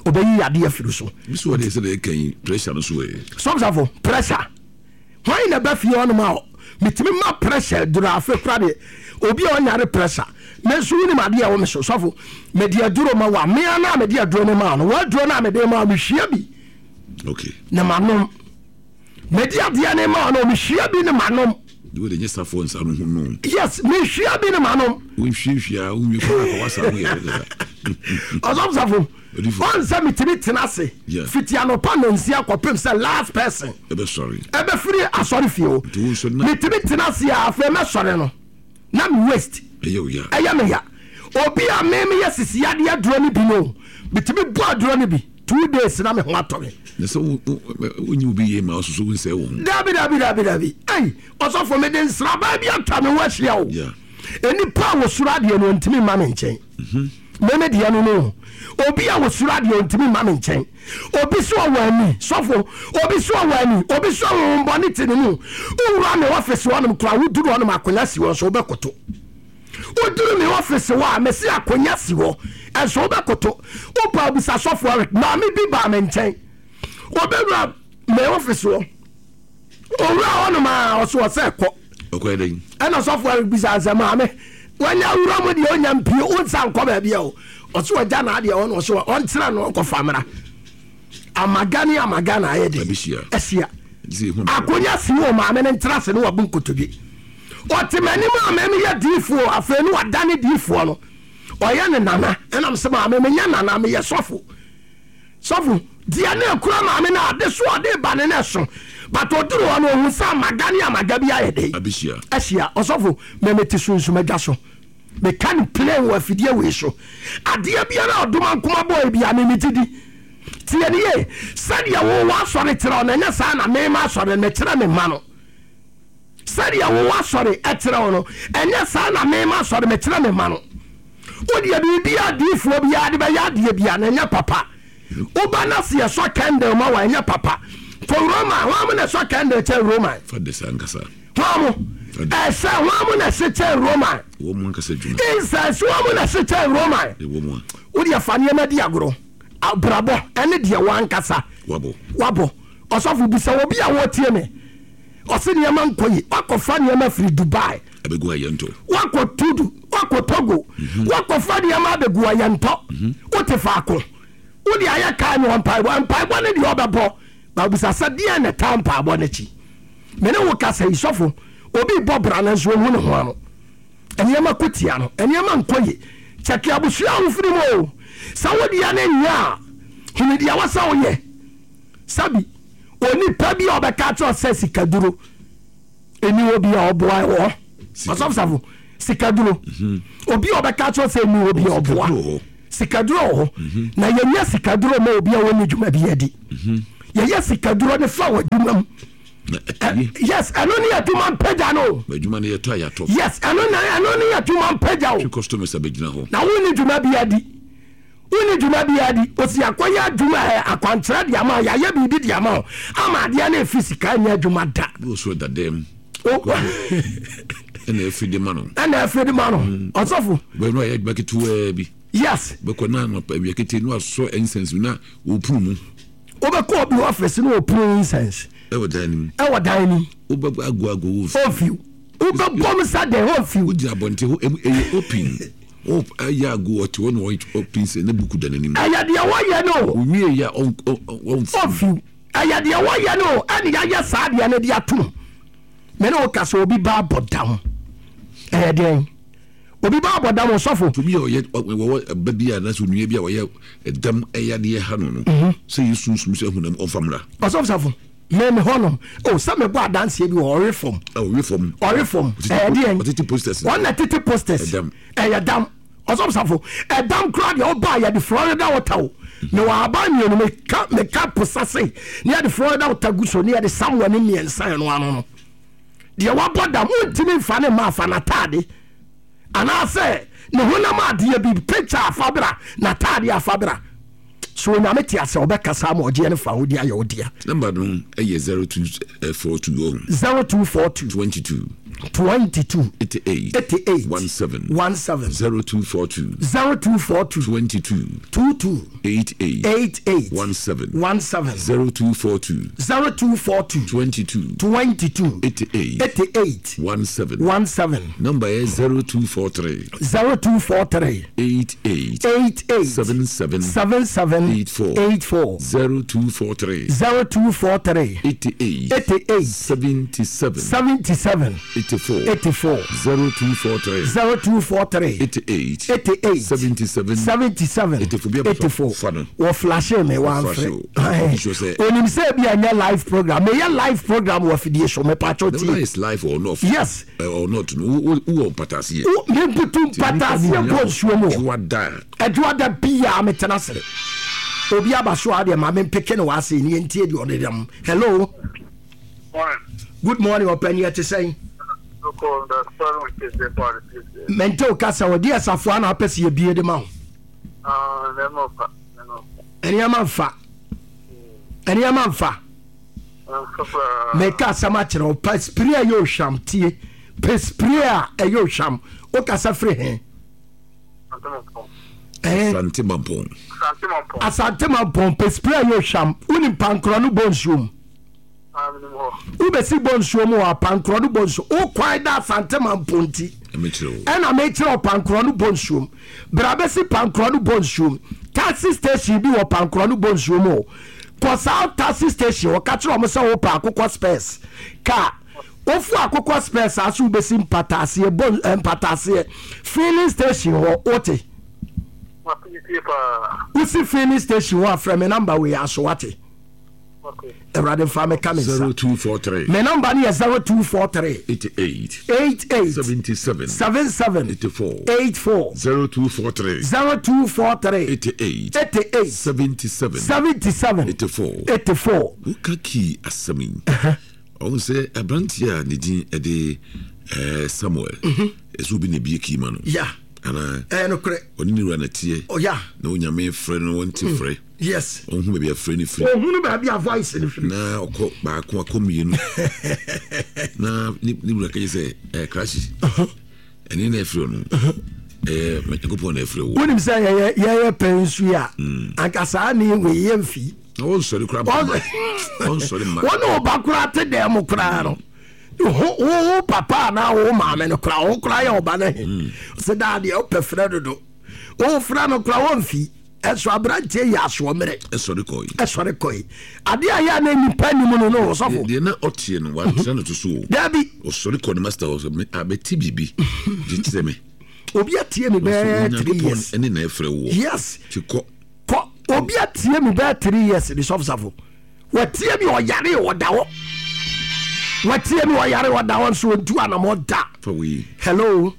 ɔbɛyi yadeɛ afiri so. Bi so ɔde sɛ de kan pressure no so ɛ. Sɔfsafo pressure. Hwan na ba fie hɔnom a metumi ma pressure duru afe kora de obi a ɔnyare pressure. Me nso wonim adeɛ a ɛwɔ me so sɔfo. Mede aduro ma wa mea na mede aduro no ma no. W'aduro no a mede ma mehwia bi. Okay. Na manom. Mede adeɛ no ma no mehwia bi ne manom. De wo de nyɛ safoɔ nsa no ho no. Yes, mehwia bi ne manom. Wonhwiahwia wonwie koraa kɔ wasa ho yɛ dada. Ɔsɔfo ɔn sɛ metumi tena ase fiti anɔpa nonsia kɔpem sɛ last person ɛbɛsɔre ɛbɛfiri asɔre fie o. Nti wo nso na metumi tena ase a afei mɛsɔre no na me waist ɛyɛ wo ya. Ɛyɛ me ya. Obi a me meyɛ sisi yadeɛ aduro no bi no metumi bɔ aduro no bi 2 days na me ho atɔ me. Na sɛ wonyi obi yie ma ɔsoso wo nsɛe wo ho. Dabi dabi dabi dabi ɛyi ɔsɔfo mede nsraban bi atwa me ho ahyia o. Nipa a wɔsuro adeɛ no ɔntumi mma me nkyɛn. Meme deɛ no no obi a wɔsuro adeɛ ɔntumi mma me nkyɛn. Obi so ɔwɔ ani sɔfo, obi so ɔwɔ ani, obi so ɔhombɔne te ne mu. Wowura me ɔfisi hɔnom koraa woduru hɔnom akonnwa si hɔ nso wobɛkoto. Woduru me ɔfisi hɔ a mesi akonnwa si hɔ ɛnso wobɛkoto. Wopa obisa sɔfo Eric maame bi baa me nkyɛn. Obɛwura me ɔfisi hɔ. Owura hɔnom a ɔso ɔsɛ kɔ. Ɔkɔyɛ dɛn? Ɛna sɔfo Eric bisa sɛ maame wanya wura mu deɛ onya mpie wonsa nkɔ baabi a o. Ɔso ɔgya n'adeɛ hɔ na ɔso ɔntena no ɔnkɔfa mmra. Amaga ne amaga na ayɛ de ahyia. Akonnwa si wɔ maame no ntena ase ne wabu nkotodwe. Ɔte m'anim a mɛmi yɛ diifoɔ afei ne wadane diifoɔ no. Ɔyɛ ne nana ɛnam sɛ maame menyɛ nana meyɛ sɔfo. Sɔfo deɛ ne ekura maame no ade so ɔde ba ne ne so but oduru hɔ no ohun sɛ amaga ne amaga bi ayɛ de ahyia. Ɔsɔfo mɛmɛ te sunsum adwa so. Meka no plain wɔ afidie wei so. Adeɛ biara a ɔdoma nkoma bɔɔ bi a meme gye di. Tie ne yie, sɛdeɛ wo w'asɔre kyerɛ wo no, ɛnyɛ saa na mema asɔre no mekyerɛ me mma no. Sɛdeɛ wo w'asɔre kyerɛ wo no, ɛnyɛ saa na mema asɔre mekyerɛ me mma no. Wodeɛ biribi a diifoɔ biara de bɛyɛ adeɛ biara no ɛnyɛ papa. Woba na se yɛsɔ candle ma wa ɛnyɛ papa. Kɔ Roma, hwan mo na ɛsɔ candle kyɛn Roman? Fa de saa nkasa. Hwan mo? Ɛsɛ hwan mo na ɛse kyɛn Roman? Wɔn mu ankasa adwuma. Incense wɔn mu na ɛse kyɛn Roman? Ɛwɔ mu a. Wodeɛ fa nneɛma di agorɔ. Abrabɔ ɛne deɛ wankasa. Wabɔ. Wabɔ. Ɔsɔfo bisa obi a wɔtie me. Ɔse nneɛma nkɔ yi. Wakɔfa nneɛma firi Dubai. Abɛgu ayɛntɔ. Wakɔ Tudu. Wakɔ Togo. Wakɔfa nneɛma abɛgu ayɛntɔ. Wote faako. Wode ayɛ kaa ne mpaebɔ. Mpaebɔ ne deɛ ɔbɛbɔ. Babisa sɛ deɛ na ɛtaa mpaebɔ n'akyi. Me ne wo kasa yi sɔfo. Obi bɔ bra no nso ohu ne ho ano. Nneɛma ko tia no. Nneɛma nkɔ yi. Kyɛke abusua a wofiri mu o. Sɛ wodeɛ ne nyɛ a, hunu deɛ wɔ sɛ woyɛ. Sabi, onipa bi a ɔbɛka kyerɛ sɛ sikaduro. Ɛni hɔ bi a ɔboa wɔ ɔsɔfosafo sikaduro. Mhm. Obi a ɔbɛka kyerɛ sɛ ɛni hɔ bi a ɔboa sikaduro wɔ hɔ. Mhm. Na yɛnyɛ sikaduro ma obi a wɔnni dwuma bi adi. Mhm. Yɛyɛ sikaduro ne fa wɔ adwuma mu. Yes, ɛno ne adwuma mpagya no. Adwuma no yɛtɔ a yɛatɔ. Yes, ɛno na ɛno ne adwuma mpagya o. Customers abɛgyina hɔ. Na wonni dwuma bi adi. Wonni dwuma biara di. Osi akɔyɛ adwuma ɛ, akwankyerɛ de ama wo, yɛayɛ biribi de ama wo, ama adeɛ no efi sika nyɛ adwuma da. Bi wɔ so ɛda dɛm. Ɛna afiri de ma no. Ɛna afiri de ma no. Mm. Ɔsɔfo. Bɛn no ayɛ adwuma ketewaa bi. Yes. Bɛkɔ na anɔpa awia ketee no asɔ incense na wɔpunu mu. Wobɛkɔ obi office na wɔpunu incense. Ɛwɔ dan no mu. Ɛwɔ dan no mu. Wobɛbɔ ago ago wɔ fi. Ɔmfiw. Wobɛbɔ mu sa dɛn ɔmfiw. Wogyina abɔnten hɔ ɛyɛ open. Ɔyɛ ago ɔte hɔ na ɔpin sɛ ne buku da n'anim. Ɛyɛ deɛ wɔyɛ no. Owie yɛ ɔmfiw. Ɔmfiw. Ɛyɛ deɛ wɔyɛ no ɛne yɛayɛ saa deɛ no de atom. Me ne wo ka sɛ obi ba abɔ dam. Ɛyɛ deɛn? Obi ba abɔ dam ɔsɔfo. Obi a ɔyɛ wɔwɔ ba bi a anaasɛ onua bi a ɔyɛ dam ɛyɛ adeɛ ha no no. Mhm. Sɛ yɛ sunsum sɛ hunam ɔmfa mmra. Ɔsɔfo safo me me hɔnom o oh, sɛ mebɔ adanseɛ bi wɔ ɔwe fam. Ɔwe fam. Ɔwe fam. Ɛyɛ deɛn? Ɔtete posters. Ɔna tete posters. Ɛdam. Ɛyɛ dam. Ɔsɔfo safo ɛdam koraa deɛ ɔba yɛde Florida water o. Mhm. Mewɔ aban mmienu meka meka posa se ne yɛde Florida water gu so ne yɛde samoa ne mmiɛnsa ɛno ano no. Deɛ wabɔ dam wontumi nfa ne mma afa n'ataade anaasɛ ne honam adeɛ bi picture afa bra n'ataade afa bra so onyame te ase ɔbɛkasa ama ɔgyeɛ no fa wodi ayɛ wo dea. Number no yɛ 0242 ɔho. 0242. 22. 22. 88. 88. 17. 17. 0242. 0242. 22. 22. 88. 88. 17. 17. 0242. 0242. 22. 22. 88. 88. 17. 17. Number yɛ 0243. 0243. 88. 88. 77. 77. 84. 84. 0243. 0243. 88. 88. 77. 77. 84. 84. 0243. 0243. 88. 88. 77. 77. 84. 84. Fa no. Wɔ flashe me wamfrɛ. Onim sɛ ebi ɛnyɛ live program. Meyɛ live program wɔ afidie so mepatwɔ tie. Whether it's live or not. Yes. Eh, or not no wo wɔ mpataseɛ. Mebutu mpataseɛ bɔ nsuo mu. Ɛdwoada. Ɛdwoada biara metena ase. Obi aba so a deɛ maame mpeke no wɔ ase ni ntie deɛ ɔde dɛm. Hello. Morning. Good morning ɔpɛni ɛte sɛn. Mente wo kasa ɔde asafoa na apɛ sɛ yɛbie de ma wo. Nneɛma mfa. Nneɛma mfa. Meka asɛm akyerɛ wo pa spray a ɛyɛ ohwam tie. Pɛ spray a ɛyɛ ohwam. Wokasa firi he? Asante Mampɔn. Asante Mampɔn pɛ spray a ɛyɛ ohwam. Wonim pankorɔ no bɔ nsuo mu. Wobɛsi bɔ nsuo mu wɔ apankorɔ no bɔ nsuo. Wo kwan da Asante Mampɔn nti. Ɛna mekyerɛ ɔpankorɔ no bɔ nsuo mu. Bra bɛsi Pankorɔ no bɔ nsuom. Taxi station bi wɔ Pankorɔ no bɔ nsuom o. Kɔ saa taxi station hɔ, ka kyerɛ wɔn sɛ wopɛ akokɔ spɛs kaa. Wofu akokɔ spɛs a so wobɛsi mpataaseɛ bɔ eh, mpataaseɛ filling station hɔ wote. Wosi filling station hɔ a frɛ me namba wei aso wate. Awurade mfa me ka me nsa. 0243. Me namba no yɛ 0243. 88. 88. 77. 77. 84. 84. 0243. 0243. 88. 88. 77. 77. 84. 84. Woka kii asɛm yi. Ɔhu sɛ aberanteɛ a ne din ɛde eh, Samuel. Mhm. Ɛsɛ obi na ebie kii ma no. Ya. Anaa. Ɛyɛ nokorɛ. Ɔne ne wura na teɛ. Ɔya. Na onyame frɛ no wɔnte mm. frɛ. Yes. Ɔnhu baabi a frɛ no firi. Ɔhunu baabi a voice no firi. Na ɔkɔ baako akɔ mmienu. Na ne ne wura kɛyɛ sɛ ɛɛ krakye. Ɛne na ɛfiri ɔno. Ɛɛ Nyankopɔn na ɛfiri wo. Wonim sɛ yɛyɛ yɛyɛ pɛn nsu yi a. Mm. Anka saa ne wei yɛ mfi. Na wɔnsɔre koraa mma. Wɔnsɔre mma. Wɔne ɔba koraa te dɛm mu koraa no. Wo wo papa anaa wo maame no koraa wo koraa yɛ ɔba no he. Mm. Sɛ daa deɛ wopɛ frɛ dodo. Wofrɛ no koraa wɔmfi. Ɛso aberanteɛ yi asoɔmmerɛ. Ɛsɔre kɔe. Ɛsɔre kɔe. Adeɛ a yɛ a na nipa nim no no ɔsɔfo. Deɛ na ɔteɛ no wantena no to so o. Dabi. Ɔsɔre kɔ ne master hɔ sɛ abɛte biribi de kyerɛ me. Obi atie me bɛɛ 3 years. Ɛne na ɛfrɛ woɔ. Yes. Ti kɔ. Kɔ obi atie me bɛɛ 3 years de sɔfo safo. Watie me ɔyare ɔda hɔ. Watie mi ɔyare ɔda hɔ nso ɔntu anamɔ da. Hello.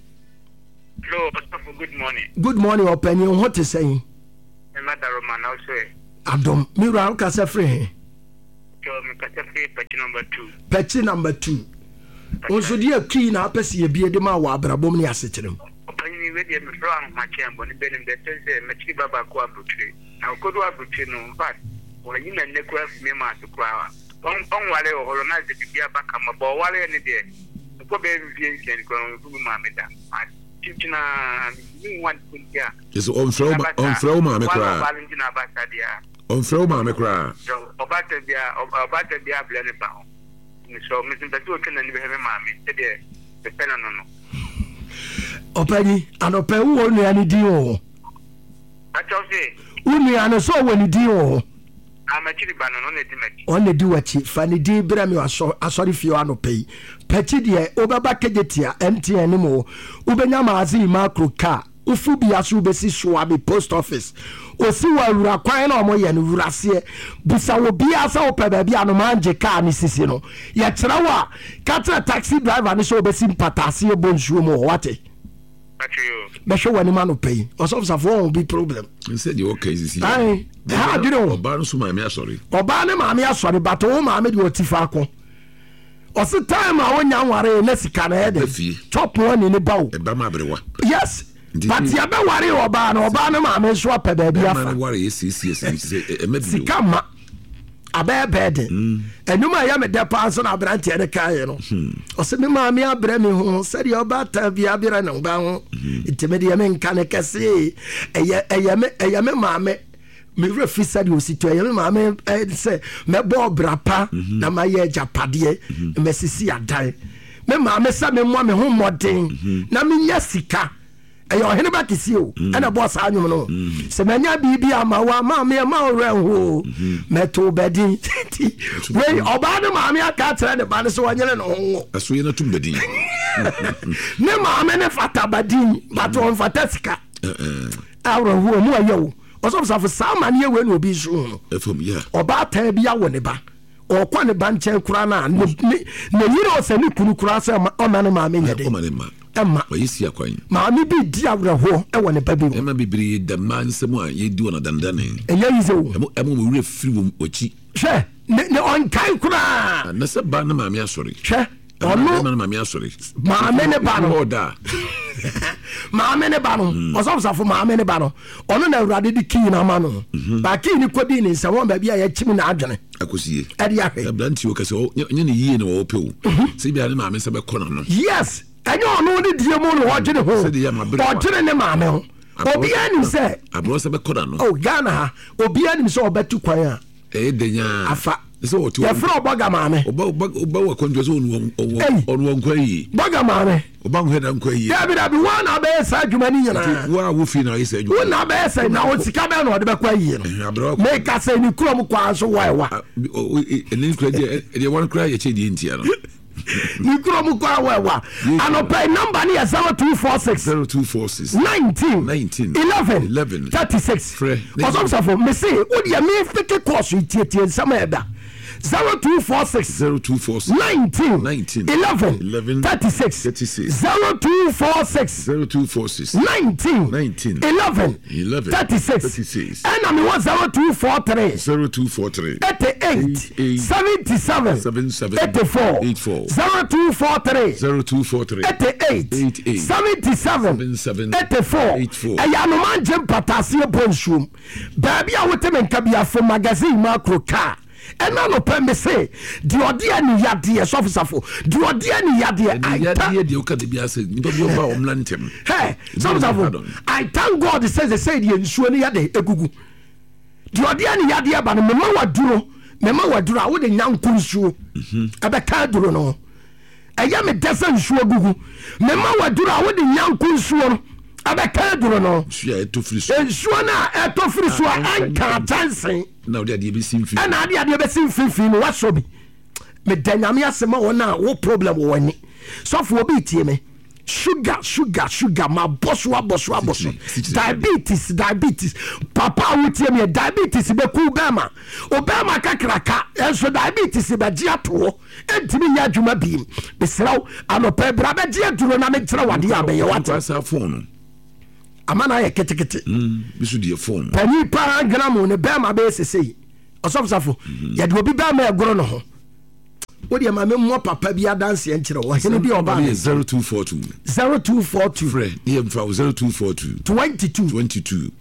Hello, Ɔsɔfo, good morning. Good morning, ɔpanyin ho te sɛn? Mema daroma na ɔsɔ ɛ. Adom, me wura wokasa firi he? Kyɛw, mekasa firi Pɛkyi number 2. Pɛkyi number 2. Wo nso deɛ kii na apɛ sɛ yɛbie de ma wɔ abrabɔ mu ne asekyerɛ mu? Ɔpanyin, wei deɛ mefrɛ wo ahomakyɛn bɔne bɛ nim deɛ ɛtɛ sɛ makyiri ba baako aburokyire. Na ɔkɔdu aburokyire no, in fact, wayi n'ani koraa fi me maa so koraa. Ɔnwaree wɔ hɔ no, na sɛ biribi aba kama, but ɔwareɛ no deɛ, ɛkɔ bɛyɛ mfeɛ nsia ni koraa no, ɔnhu me maame da. Makyinkyini ara, mentumi nhu ade ko nti a. Kyerɛ sɛ ɔmfrɛ wo ma ɔmfrɛ wo maame Ware koraa. ɔbaa no nti na aba saa deɛ a. Ɔmfrɛ wo maame koraa. Sɛ ɔbaatan biara ɔbaatan biara abrɛ ne ba ho. Mesrɛ wo, me nso mepɛ sɛ ɔtwa n'ani bɛhwɛ me maame sɛdeɛ mepɛ no no no. Ɔpanyin, anɔpa yi wowɔ wo nua no din wɔ hɔ? Pakyɛw se. Wo nua no, sɛ ɔwɔ ne din wɔ hɔ? Ah, m'akyiri ba no, no na edi m'akyi. Ɔno na edi w'akyi. Fa ne din brɛ me wɔ asɔrefie hɔ anɔpa yi. P'akyi deɛ, wobɛba Kejetia, MTN no mu hɔ. Wobɛnya Magazine Macro car. Wofu bia so wobɛsi Suame Post Office. Osi wɔ awura kwan na wɔyɛ no, wura aseɛ. Bisa obiara sɛ wopɛ baabi a Anomaa car no sisi no. Yɛkyerɛ wo a, ka kyerɛ taxi driver no sɛ ɔbɛsi mpataaseɛ bɔ nsuo mu hɔ, wate? Bɛhwɛ w'anim anɔpa yi. Ɔsɔfo Safo wɔn bi problem. Nsɛ deɛ ɔka yi sisi. Ayi, ɛha adwene o. Ɔbaa no so maame asɔre. Ɔbaa ne maame asɔre, but wo maame deɛ ɔti faako. Ɔsi time a wonya nware na sika na ɛyɛ dɛ. Chop money ne ba o. Ɛba ma aberewa. Yes. But yɛbɛ ware ɔbaa no, ɔbaa no maame nso apɛ baabi afa. Ɛma no ware yɛ siesie sɛ ɛmɛ bi. Sika ma. Abɛyɛ bɛɛden. Ɛnum a ɛyɛ me dɛ paa nso na aberanteɛ no kaeɛ no. Ɔsɛ me maame abrɛ me ho sɛdeɛ ɔbaatan bi abrɛ ne ba ho. Nti me deɛ menka no kɛse. Ɛyɛ ɛyɛ me ɛyɛ me maame. Me werɛ fi sɛdeɛ ɔsi to ɛyɛ me maame sɛ mɛbɔ ɔbra pa na mayɛ agyapadeɛ masisi adan. Me maame sɛ memmɔ me ho mmɔden na menya sika. Ɛyɛ ɔhene ba kɛseɛ o mm. ɛna ɛbɔɔ saa nnwom no mm. sɛ manya biribi ama wo ama me ɛma wo werɛ ho o mm-hmm. mɛto bɛdin nti wei ɔbaa ne maame aka akyerɛ ne ba no sɛ ɔnyere ne ho ngo ɛso yɛ no tom bɛdin ne maame ne fata badin but mm. ɔmfata sika awerɛhoɔ mu ɛyɛ o ɔsɔfosafo saa amaneɛ wei na obi nso hu no ɔbaa bi awɔ ne ba ɔkɔ ne ba nkyɛn koraa no a ne yere ɔsɛ ne kunu koraa sɛ ɔma ne maame nyɛ den Ɛmma. Wɔayɛ si akwan. Maame bi redi awerɛhoɔ wɔ ne ba bi ho. Mmarima bebree da mmaa nsam a yɛdi wɔn adandane. Ɛnyɛ yize o. Ɛmo ɛmo wɔn werɛ firi wɔn akyi. Hwɛ, ne ne ɔnkae koraa. Na sɛ ba ne maame asɔre. Hwɛ, ɔno. Bɛrima ne maame asɔre. Maame ne ba no. Ɔda. Maame ne ba no. Hmm. Ɔsɔfosafo maame ne ba no. Ɔno na awurade de kii no ama no. Mhm. Ba kii no kɔdii ne nsam wɔn baabi a yɛkyim n'adwene. Akosie. Ɛde ahwɛ. Aberanteɛ o kɛsɛ ɔnyɛ ne yie na ɔpɛ o. Mhm. Sɛ bi a ne maame nsa bɛkɔ n'ano. Yes. Ɛnyɛ ɔno ne die mu na ɔdwene ho. Ɔdwene ne maame ho. Obiara nim sɛ. Aborɔ sɛ bɛkɔ n'ano. Oh Ghana ha obiara nim sɛ ɔbɛtu kwan a. Ɛyɛ dɛ nyaa. Afa. Yɛfrɛ ɔbɔga maame. Ɔba ɔba ɔba wɔ akwantuo sɛ ɔno ɔno wɔ nkwa yie. Bɔga maame. Ɔba nhwɛ da nkwa yie. Dabi dabi wɔn na abɛyɛ saa adwuma ni nyinaa. Wo a wo fie na ayɛ saa adwuma. Wo na abɛyɛ sɛ na o sika bɛn na ɔde bɛkɔ ayie no. Meka sɛ ne kurom kwan so wɔ ɛwa. Ɛne kura deɛ ɛdeɛ wɔn kura yɛ kyɛ deɛ ntia no. Ne kurom kɔ awɔ ɛwa. Anɔpa yi nɔmba no yɛ 0246 0246 19 19 11 11 36. Frɛ. Ɔsɔfosafo mese wo deɛ me feke kɔɔso yi tietie nsɛm a ɛda 0246 0246 19 19 11 11 36 36 0246 0246 19 19 11 11 36 36 ɛna mewɔ 0243 0243 88 88 77 77 84 84 0243 0243 88 88 77 77 84 84. ɛyɛ anoma ngye mpataaseɛ bɔ nsuom baabi a wote me nka biafo magazine mu akoro kaa ɛna nɔpɛ me se deɛ ɔde ani yadeɛ sɔfosafo deɛ ɔde ani yadeɛ Ɛde I yadeɛ thank deɛ woka de bi ase nipa bi ɔba a ɔmmra ntɛm. Hey, sɔfosafo I thank God sɛ sɛ sɛ deɛ nsuo no yɛde egugu deɛ ɔde ani yadeɛ ba no mema waduro mema waduro a wode nyanko nsuo ɛbɛka aduro no ho ɛyɛ me dɛ sɛ nsuo gugu mema waduro a wode nyanko nsuo no ɛbɛka aduro no Nsuo a ɛtɔ firi so. nsuo no a ɛtɔ firi so a ɛnka kyɛnse Na wode adeɛ bɛsi mfimfini. ɛna ade adeɛ bɛsi mfimfini no wasɔ bi meda nyame ase ma wɔn a wo problem wɔ w'ani sɔfo obi tie me. Sugar, sugar, sugar, mabɔ so abɔ so abɔ so. Diabetes, diabetes. Papa a wotie me, diabetes bɛku bɛrima. Obɛrima kakraka, ɛnso diabetes bɛgye ato hɔ. Ɛntumi nyɛ adwuma biem. Mesrɛ wo, anɔpa bra bɛgye aduro na menkyerɛ wo adeɛ a bɛyɛ wate. Ama no ayɛ ketekete. Mm, Panyin paa dwena mo ne bɛrima bɛyɛ sesei. Ɔsɔfosafo, mhm. yɛde obi bɛrima ɛgoro ne ho. Wo deɛ ma me mmɔ papa bi adanseɛ nkyerɛ wo. Ɔhene bi ɔbaa ne. 0242. 0242. Frɛ ne yɛ mfa wo 0242. 22. 22.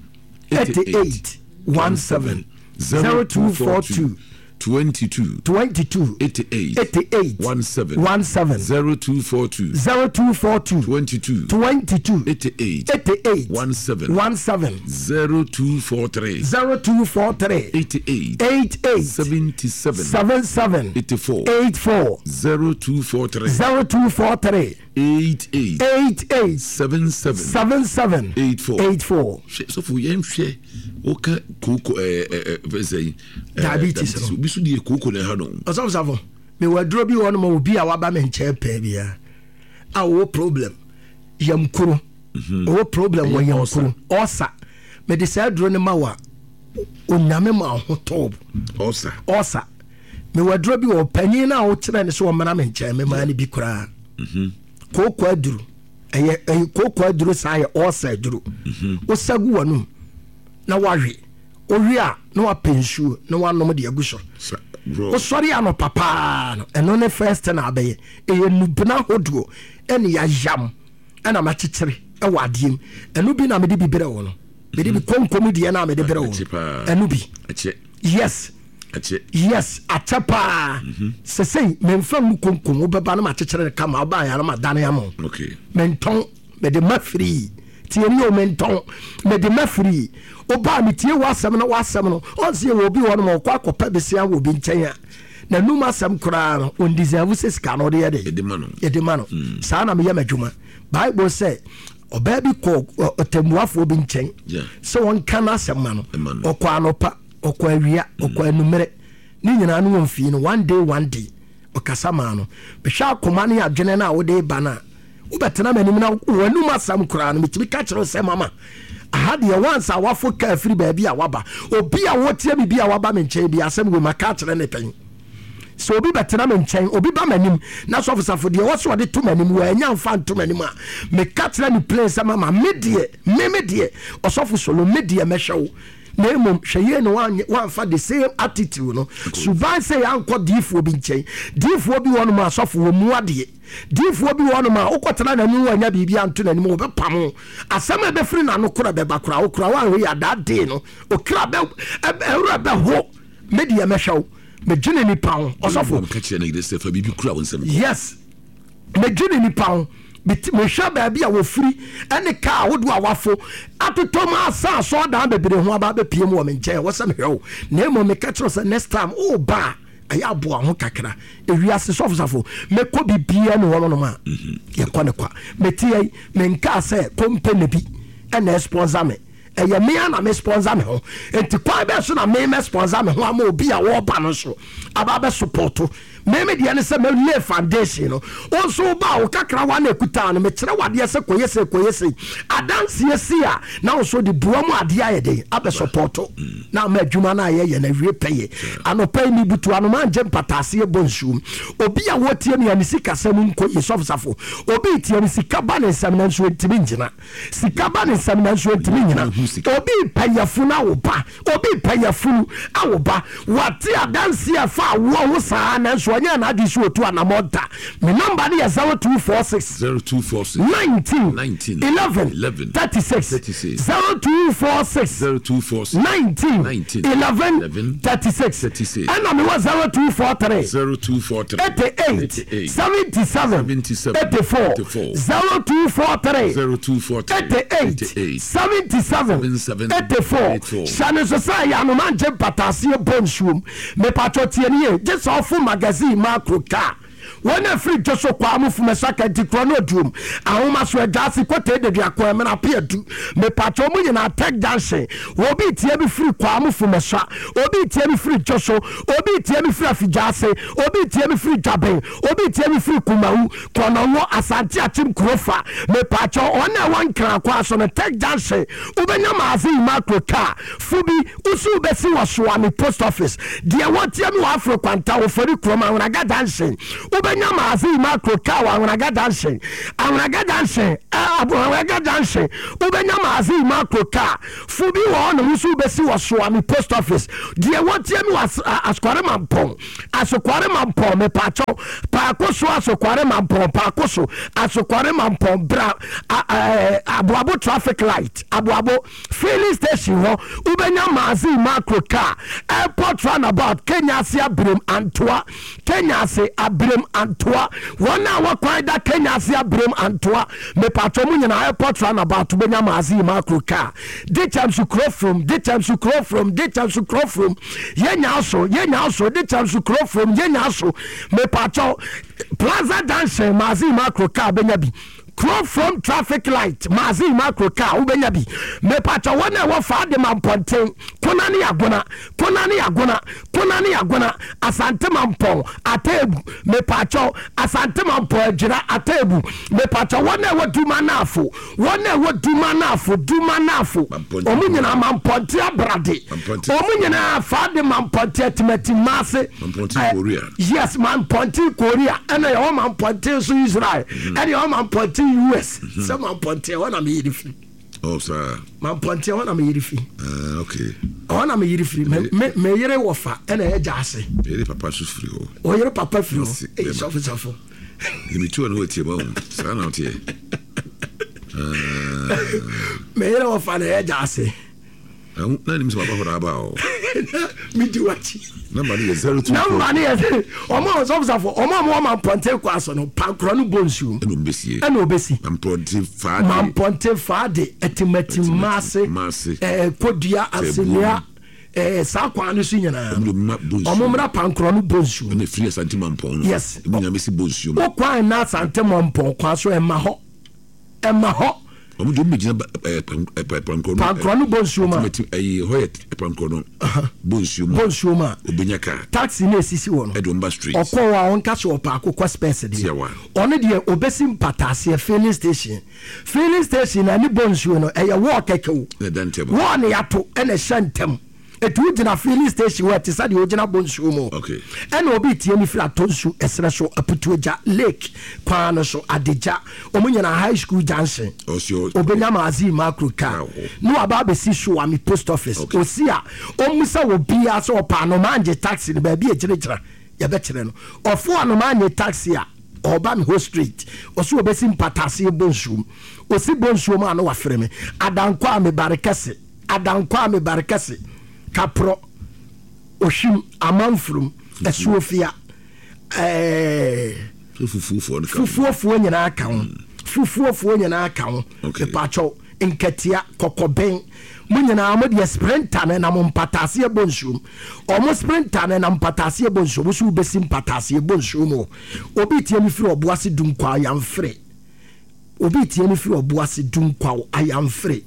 88 17. 0242. 22. 22. 88. 88. 17. 17. 0242. 0242. 22. 22. 88. 88. 17. 17. 0243. 0243. 88. 88. 77. 77. 84. 84. 0243. 0243. 88. 88. 77. 77. 84. 84. Hwɛ sɔfo yɛn hwɛ woka kooko ɛɛ ɛɛ fɛn sɛ Diabetes no. Obi so deɛ kooko na ɛha no. Ɔsɔfo safo mewɔ aduro bi wɔ no ma obi a waba me nkyɛn pɛɛ bia a ɔwɔ problem yam kuro mhm. ɔwɔ problem wɔ yam kuro ɔsa mede saa aduro no ma wa onyame ma ho tɔɔ ɔsa ɔsa mewɔ aduro bi wɔ panyin no a wokyerɛ ne sɛ ɔmmra me nkyɛn memaa no bi koraa mhm. kooko aduro ɛyɛ ɛyɛ kooko aduro saa yɛ ɔsa aduro mhm. wosa gu w'anum na wawe Wowie a, na wapɛ nsuo na wanom de agu so. Wosɔre anɔpa paa no, ɛno ne first thing a abɛyɛ. Ɛyɛ nnubena hodoɔ ɛne yayam ɛna makyekyere ɛwɔ adeɛ mu. Ɛno bi na mede bi brɛ wo no. Mede bi konkom deɛ na mede brɛ wo no. Ɛno bi. Yes. Yes, akyɛ paa. Mhm. Sɛsɛi memfa ngu konkom wobɛba no makyekyere no kama wobaeɛ a na madane ama wo. Mentɔn. Mede ma firii. Tie ni o, mentɔn. Mede ma firii. Ɔbaa metie w'asɛm no w'asɛm no. Ɔnse yɛwɔ obi hɔ nom ɔkɔ akɔpɛ besia wɔ obi nkyɛn a n'anum asɛm koraa no ɔndeserve sɛ sika no ɔde yɛ dɛ yɛde ma no. Mm. Saa na meyɛ m'adwuma. Bible sɛ ɔbaa bi kɔ ɔtɛmmuafoɔ bi nkyɛn sɛ ɔnka n'asɛm ma no. Ɔkɔ anɔpa, ɔkɔ awia, ɔkɔ mm. anummerɛ. Ne nyinaa no wɔmfii no one day one day. Ɔkasa maa no. Mehwɛ akoma ne adwene no a wode ba no a, wobɛtena m'anim na w'anum asɛm koraa no metumi ka kyerɛ wo sɛ mama aha deɛ once a wafo kaa firi baabi a waba obi a wɔtie me bi a waba me nkyɛn bi asɛm wei maka akyerɛ ne pɛn sɛ obi bɛtena me nkyɛn obi ba m'anim na sɔfosafo deɛ wɔsɛ ɔde to m'anim wɔanya mfa nto m'anim a meka kyerɛ ne plain sɛ mama me deɛ me me deɛ ɔsɔfo solo me deɛ mɛhwɛ wo na mmom hwɛ yie na woamfa the same attitude no suban sɛ yɛankɔ diifoɔ bi nkyɛn diifoɔ bi wɔ nom asɔfo wɔ mu adeɛ Diyifoɔ bi wɔ hɔnom a, wokɔtena n'anim wannya biribi anto n'anim, wɔbɛpam wo. Asɛm a ɛbɛfiri n'ano korɔ bɛba koraa, wo koraa woanhwɛ yie a, that day no, okra bɛ, ɛwerɛ bɛho. Me deɛ mɛhwɛ wo. Medwene nipa ho. Ɔsɔfo. Ka kyerɛ ne yere sɛ, fa biribi kura wo nsam kɔ. Yes. Medwene nipa ho. Mehwɛ baabi a wɔfiri ɛne kaa ahodoɔ a wafo atotɔ mu asa asɔɔdan bebree ho aba abɛpie mu wɔ me nkyɛn. Ɛwɔ sɛ mehwɛ wo. Na mmom meka kyerɛ wo sɛ next time woba a, ɛyɛ aboa ho kakra ewiase sɔfosafo mɛkɔ biribiara ne hɔ nom a mhm. yɛkɔ ne kwa mete yɛ menkaa sɛ company bi ɛna ɛsponsor me ɛyɛ me a na me sponsor me ho nti kwan bɛɛ so na me mɛ sponsor me ho ama obi a wɔreba no so aba bɛ support me me deɛ ne sɛ mɛ lay foundation no wo nso ba wo kakra wa na ekuta no mekyerɛ wadeɛ sɛ kɔyɛ sɛ kɔyɛ sɛ adanseɛ si a na wo nso de bua mu adeɛ ayɛ den abɛ support na ama adwuma no a yɛyɛ no awie pɛyɛ. Anɔpa yi mebutu ano mangye mpataaseɛ bɔ nsuom. Obi a wɔtie me a ne sikasɛm nkɔ yie, Sɔfo Safo, obi retie me, sika ba ne nsam nanso ɔntumi ngyina. Sika ba ne nsam nanso ɔntumi nnyina. Obi repɛ yafunu awo ba, obi repɛ yafunu awo ba. Wate adanseɛ a ɛfa awoɔ ho saa nanso ɔnyɛɛ n'adwene sɛ ɔtu anamɔn da. Me nɔmba no yɛ 0246. 0246 19 19 11 11 36 36 0246 0246 19 19 11 11 36 36 ɛna mewɔ 0243 0243 88 88 77 77 84 84 0243 0243 88 88 77 77 84 84. hyɛ ne nso sɛ ɛyɛ anoma ngye mpataaseɛ bɔ nsuom mepatwɔ tie ne yie gye sɛ ɔfo magazine ma akoro kaa. Wɔn a ɛfiri Dwoso, Kwaa mu, Fumasa, Kantikorɔ ne Oduom, Ahomaso, Adwaase, Kotei, Deduako, Ɛmena, Apeadu. Mepakyɛw mo nyinaa Tech Junction. Obi retie me firi Kwaa mu, Fumasa. Obi retie me firi Dwoso. Obi retie me firi Afigyaase. Obi retie me firi Dwaben. Obi retie me firi Kumawu, Kɔnɔngo, Asante Akyem Kurofa. Mepakyɛw wɔn a ɛwɔ Nkran kwan so no, Tech Junction, wobɛnya Magazine Macro car fo bi, wo so wobɛsi wɔ Soame Post Office. Deɛ wɔretie me wɔ Afro Kwanta, Ofori Kurom, Anwraga Junction, wobɛnya Magazine Macro car wɔ Anwraga Junction. Anwraga Junction, eh, Anwraga Junction, wobɛnya Magazine Macro car fo bi wɔ hɔnom, wo so wobɛsi wɔ Soame Post Office. Deɛ wɔretie me wɔ Askware Mampɔn, Asokware Mampɔn, mepaakyɛw, Paako so Asokware Mampɔn, Paako so Asokware Mampɔn, bra Aboabo traffic light, Aboabo filling station hɔ, wobɛnya Mazii Macro car, airport roundabout, Kenya ase Abirem Antoa, Kenya ase Abirem Antoa, wɔn a wɔkwan da Kenya ase Abirem Antoa, mepaakyɛw mo nyinaa airport roundabout, wobɛnya Mazii Macro car, Dikyɛmso Kurofrom, Dikyɛmso Kurofrom, Dikyɛmso Kurofrom. Yɛnya so, yɛnya so, de kyɛm so kuro from, yɛnya so. Mepakyɛw, Plaza Junction, Mazin Macro car bɛnya bi. Kuro from traffic light, Mazin Macro car wobɛnya bi. Mepakyɛw, wɔn a ɛwɔ fa de ma mpɔnten, Kona ne Agona, Kona ne Agona, Kona ne Agona, Asante Mampɔn, Atebu, mepakyɛw, Asante Mampɔn, Adwira, Atebu, mepakyɛw, wɔn a ɛwɔ Duma Anafo, Wɔn a ɛwɔ Duma Anafo, Duma Anafo, wɔn nyinaa Mampɔnte Abrade, wɔn nyinaa fa de Mampɔnte Atimati Maase. Mampɔnte Korea. Yes, Mampɔnte Korea, ɛna yɛwɔ Mampɔnte nso Israel, mhm. ɛna yɛwɔ Mampɔnte US. Mhm. Sɛ Mampɔnte ɛhɔ na meyere firi. Oh, saa. Mampɔnte ɛhɔ na meyere firi. Ah, okay. Ɛhɔ na meyere firi. Me me meyere wɔ fa ɛna ɛyɛ gya ase. Meyere papa nso firi hɔ. Ɔyere papa firi hɔ. Eyi sɔfo sɔfo. Ebi tu ɔno etie ma wo saa na ɔteɛ. Me yere wɔfa na ɛyɛ gya ase. Na nim sɛ waba hɔ na aba o. Medi wakyi. Namba no yɛ 024. Namba no yɛ ɔmo a ɔsɔfosafo ɔmo a ɔmo wɔ mampɔnten kɔ aso no pankorɔ no bɔ nsuo. Ɛna ɔmo bɛsie. Ɛna ɔbɛsi. Mampɔnten faade. Mampɔnten faade ɛtimatim maase. Maase. Ɛɛ kodua asenua. Ɛɛ saa kwan no so nyinaa. Ɔmo de ma bɔ nsuo. Ɔmo mmra pankorɔ no bɔ nsuo. Ɛna efiri Asante Mampɔn no. Yes. Emu nyinaa bɛsi bɔ nsuo mu. Wo kwan na Asante Mampɔn kwan so ɛma hɔ. Ɛma hɔ. Ɔmo de ɔmo bɛgyina ɛɛ pankorɔ no. Pankorɔ no bɔ nsuo mu a. Ɛti ɛyi hɔ yɛ pankorɔ no. Bɔ nsuo mu. Bɔ nsuo mu a. Obenya kaa. Taxi na esisi hɔ no. Ɛde ɔmo ba straight. Ɔkɔ hɔ a ɔnka sɛ ɔpɛ akokɔ spɛs deɛ. Tiawa. Ɔno deɛ obesi mpataaseɛ filling station. Filling station na ɛne bɔ nsuo no ɛyɛ wall kɛkɛ o. Na ɛda ntɛm. Wall na yɛato ɛna ɛhyɛ ntɛm. Ɛti wo gyina filling station hɔ ɛte sɛ deɛ wogyina bɔ nsuo mu. Okay. Ɛna obi tie me firi atɔ nsu ɛserɛ so Aputuogya lake kwan no so Adegya wɔn nyinaa high school junction. Ɔsi Obenya Magazine Macro car na waba abɛsi Suame post office. Okay. Osi a ɔmmisa obiara sɛ ɔpɛ anomaa ngye taxi no baabi a ɛgyinagyina yɛbɛkyerɛ no. Ɔfo anomaa nye taxi a ɔba me hɔ straight. Ɔse ɔbɛsi mpataase Bonsuom. Ɔsi Bonsuom a na wafrɛ me. Adankwa a mebare kɛse. Adankwa a mebare kɛse. Kaprɔ, Ohwim, Amanfurum, Asuofia, ɛɛ. Fufuofoɔ no ka ho. Fufuofoɔ nyinaa ka ho. Fufuofoɔ nyinaa ka ho. Okay. Mepakyɛw, nkatia, kɔkɔbɛn, mo nyinaa mo deɛ sprinter no nam mpataase ɛbɔ nsuom. Ɔmo sprinter no nam mpataase ɛbɔ nsuom. Wo so wobɛsi mpataase ɛbɔ nsuom o. Obi tie me firi Ɔboase Dunkwa Ayamfere. Obi tie me firi Ɔboase Dunkwa Ayamfere.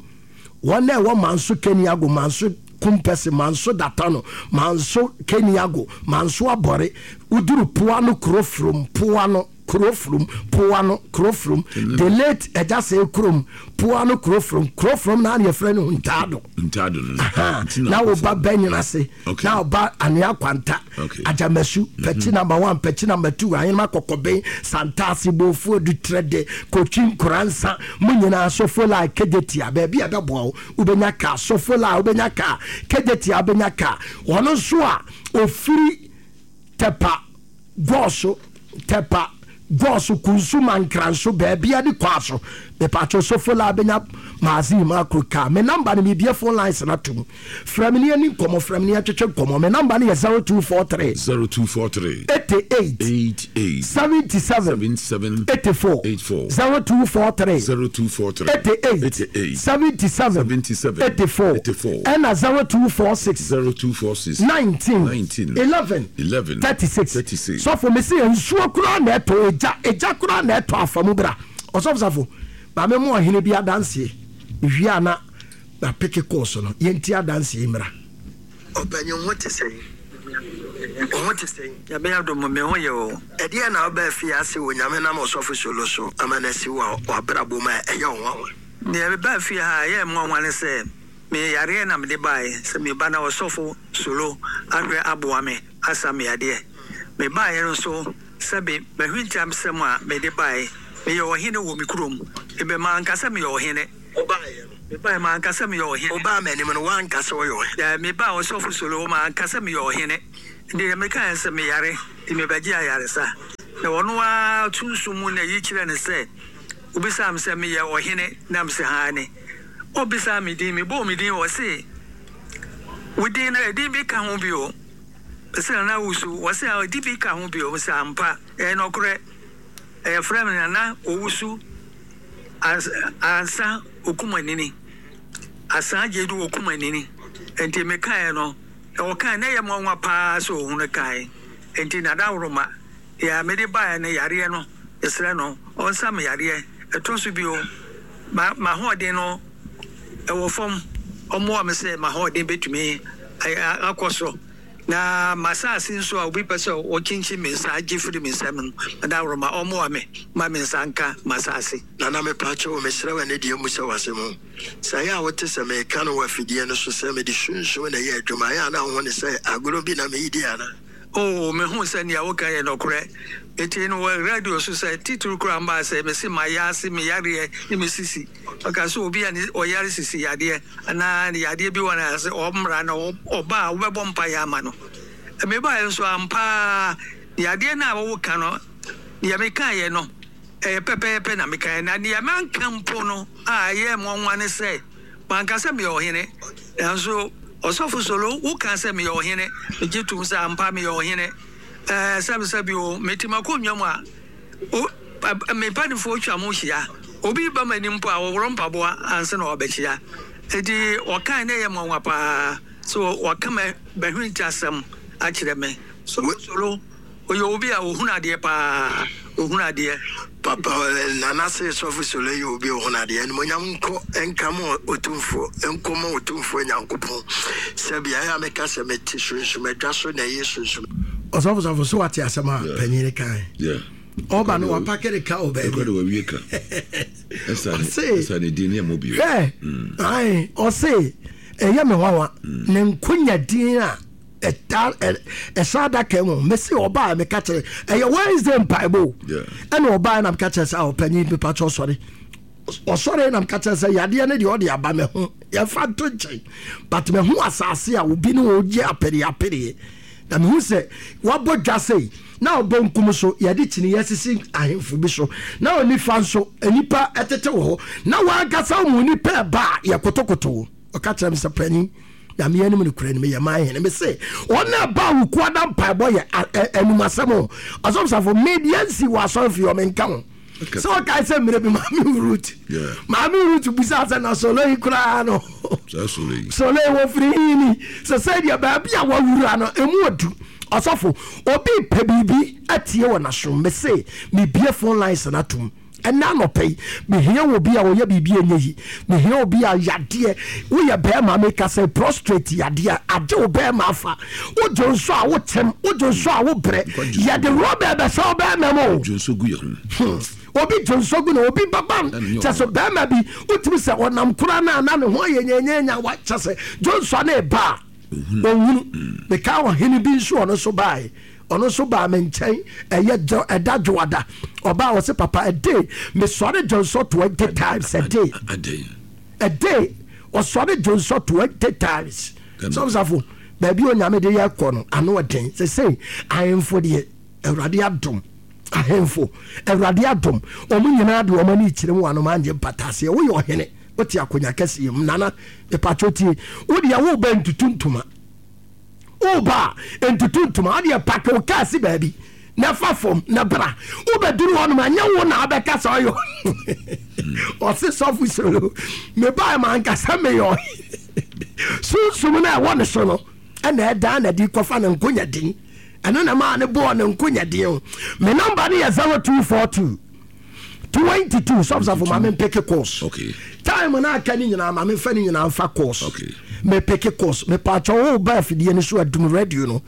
Wɔn a ɛwɔ Manso Keniago, Manso Kumpɛse, Manso Datano, Manso Keniago, Manso Abɔre, woduru Poano Kurofrom, Poano Kurofrom, Poano Kurofrom, the late Ɛgyasɛe kurom, Poano Kurofrom, Kurofrom na yɛfrɛ no Ntaado. Ntaado no. Aha, Nti na na wo ba nkurɔfoɔ- bɛnyina ase, Okay. na ɔba Anwea Kwanta, Okay. Agyamasu, Pɛkyi number one, Pɛkyi number two, Ahenema Kɔkɔben, Santaase, Bofuo, Dutrɛde, Kotwi, Nkoransa, mo nyinaa Sofola, Kejetia, baabi a ɛbɛboa wo, wobɛnya kaa, Sofola, wobɛnya kaa, Kejetia, wobɛnya kaa. Ɔno nso a ofiri Tɛpa Gɔɔso, Tɛpa, Gɔɔso, Kunsu, Mankranso, baabia de kwaa so. Mepatwo Sofola bɛnya Magazine Makro car. Me number no mebie phone lines no atom. Frɛ me ne yɛni nkɔmmɔ, frɛ me ne yɛntwetwe nkɔmmɔ. Me number no yɛ 0243. 0243. 88. 88. 77. 77. 84. 84. 0243. 0243. 88. 88. 77. 77. 84. 84. Ɛna 0246. 0246. 19. 19. 11. 11. 36. 36. Sɔfo mese nsuo koraa na ɛtɔ egya egya koraa na ɛtɔ afa mu bra. Ɔsɔfo safo maame mu ɔhene bi adanseɛ mewie a na na peke kɔɔ so no yɛnti adanseɛ yi mmra. Ɔpanyin wo ho te sɛn? Wo ho te sɛn? Nyame adom me ho yɛ o. Ɛdeɛn na wobaa fie ase wɔ Nyame nam Ɔsɔfo Solo so ama no asi wɔ w'abrabɔ mu a ɛyɛ wo nwanwa? Deɛ mebaa fie ha a ɛyɛɛ me nwanwa ne sɛ me yareɛ na mede baeɛ sɛ meba na Ɔsɔfo Solo ahwɛ aboa me asa me yadeɛ. Mebaeɛ no nso sɛbe m'ahwintiamsɛm a mede baeɛ, meyɛ ɔhene wɔ me kurom, mebɛ manka sɛ meyɛ ɔhene. Wobaeɛ no. Mebaeɛ manka sɛ meyɛ ɔhene. Wobaa m'anim no woanka sɛ woyɛ ɔhene. Daabi, mebaa Ɔsɔfo Solo hɔ manka sɛ meyɛ ɔhene. Deɛ mekaeɛ ne sɛ meyare nti mebɛgye ayaresa. Na ɔno ara sunsum mu na yi kyerɛɛ no sɛ, obisaa me sɛ meyɛ ɔhene na mese aane. Obisaa me din, mebɔɔ me din ɔse wo din no edin bi ka ho bio? Mese Nana Owusu, ɔse ah edin bi ka ho bio? Mese ampa, ɛyɛ nɔkorɛ, yɛfrɛ me Nana Owusu Ansa Okumanini, Asaa Gyedu Okumanini. Nti mekaeɛ no, na ɔkae na ɛyɛ me nwanwa paa sɛ ɔhunu kae. Nti Nadaworoma, deɛ mede baeɛ no yareɛ no, mesrɛ no ɔnsa me yareɛ. Ɛtɔ so bio, m'ahoɔden no ɛwɔ fam, ɔmmoa me sɛ m'ahoɔden bɛtumi akɔ soro. Na m'asase nso a obi pɛ sɛ ɔkyinkyin me nsa gye firi me nsam no, Adaworoma, ɔmmoa me mma me nsa nka m'asase. Nana mepaakyɛw mesrɛ wo ɛne deɛ mmusa wo asɛm o. Sɛ ɛyɛ a wote sɛ meka no wɔ afidie no so sɛ mede sunsum na ɛyɛ adwuma ɛyɛ a na wohu no sɛ agorɔ bi na meredi anaa? Oo, mehu sɛ nea woka yɛ nɔkorɛ. Metee no wɔ radio so sɛ titiriw koraa mbaa sɛ mese mayɛ me yareɛ ne me sisi. Ɔka sɛ obi a ne ɔyare sisi yadeɛ anaa ne yadeɛ bi wɔ ne ase ɔmmra na ɔba a wobɛbɔ mpaeɛ ama no. Mebaeɛ nso ampa ara yadeɛ no a woka no deɛ mekaeɛ no ɛyɛ pɛpɛɛpɛ na mekaeɛ na deɛ manka mpo no a ɛyɛɛ me nwanwa ne sɛ manka sɛ meyɛ ɔhene nanso Ɔsɔfo Solo woka sɛ meyɛ ɔhene megye tom sɛ ampa meyɛ ɔhene ɛɛ sɛbesɛbe o mete m'akonnwa mu a O, me mpanimfoɔ twa mo hyia. Obi reba m'anim mpo a, ɔworɔ mpaboa ansa na wabɛkyia. Enti wɔkae na ɛyɛ nwanwa paa sɛ wɔaka m'ahuntasɛm akyerɛ me. Solo, ɔyɛ obi a ɔhunu adeɛ paa, ɔhunu adeɛ. Papa Nana se Sɔfo Solo yɛ obi a ɔhunu adeɛ. Animuonyam nkɔ nka ma Otumfoɔ, nkɔ ma Otumfoɔ Nyankopɔn. Sɛ beaeɛ a meka sɛ mete sunsum adwa so na ɛyɛ sunsum. Ɔsɔfo sɔfo so wate asɛm a panyin no kae. Ɔba no wapake ne ka wɔ baabi. Wawie ka. Ɔse hwɛ ae ɔse ɛyɛ me nwanwa mm. ne nkonya din a ɛta ɛhyɛ adaka mu mesi ɔbaa meka kyerɛ ɛyɛ Wednesday mpaebɔ ɛna ɔbaa na meka kyerɛ sɛ ɔpanyin pepa kyɛ ɔsɔre ɔsɔre na meka kyerɛ sɛ yadeɛ no deɛ ɔde aba me ho yɛfa nto nkyɛn but me ho asase a obi ne ɔgye apereapereɛ na mehu sɛ wabɔ dwa sei na ɔbɔ nkum so yɛde kyiniiɛ asisi ahemfo bi so na onifa nso nnipa tete wɔ hɔ na wankasa mu nipa ɛba a yɛkotokoto wo ɔka kyerɛ me sɛ panin nyame anim no kura no meyɛ man hene me se ɔna ɛba a wokuada mpaebɔ yɛ anum asɛm o ɔsɔmsafo medeɛ nsi wɔ asɔrefie ɔmenka ho sɛ ɔkae sɛ mmerɛ bi maame rut maame rut bisa sɛ na solo yi koraa no solo yi wɔfiri hini sɛ sɛ deɛ baabi a wawura no ɛmu ɔdu ɔsɔfo obi pɛ biribi atie wɔ n'asom mese mebie phone lines no atom ɛnɛ anɔpɛ yi mehia wɔ bi a ɔyɛ biribi ɛnyɛ yi mehia obi a yadeɛ woyɛ bɛrima meka sɛ prostrate yadeɛ agye wo bɛrima afa wodwo nso a wokyɛm wodwo nso a wobrɛ yɛde rɔba ɛbɛsɛ wo bɛrima mu o hmm. obi dwo nso gu na obi baba kyɛ sɛ bɛrima bi wotumi sɛ ɔnam kora no a na ne ho ayɛ nyanyanya wa kyɛ sɛ dwo nso ne ba a ɔhunu hmm. meka ɔhene bi nso ɔno nso baeɛ ɔno nso baa me nkyɛn ɛyɛ ɛda dwoada ɔbaa ɔse papa a day mesɔre dwo nso 20 times a day a day ɔsɔre dwo nso 20 times Sɔfo baabi a Onyame de yɛ kɔ no ano ɔden. Sesei ahemfo deɛ Awurade adom. Ahemfo, Awurade adom, wɔn nyinaa de wɔn ani rekyerɛ mu wɔ anomaa ngye mpataaseɛ. Woyɛ ɔhene, wote akonnwa kɛseɛ mu. Nana, mepakyɛw tie, wo deɛ woreba ntutu ntoma. Woreba a, ntutu ntoma. Wo deɛ pake wo kaa si baabi na fa fam na bra. Wobɛduru hɔnom a, nyɛ wo na abɛka sɛ ɔyɛ ɔse sɔfo solo. Mebae ma ankasa meyɛ ɔhene. Sunsum no a ɛwɔ ne so no ɛna ɛdaa na de kɔfa ne nkonya din. Ɛno na maa ne bɔɔ ne nkonya din o. Me namba no yɛ 0242 22 sɔfosɔfo ma me mpeke course. Okay. Time na aka ne nyinaa ma me nfa ne nyinaa nfa course. Okay. Me peke course. Me paatwa wo ba afidie no so adum radio no.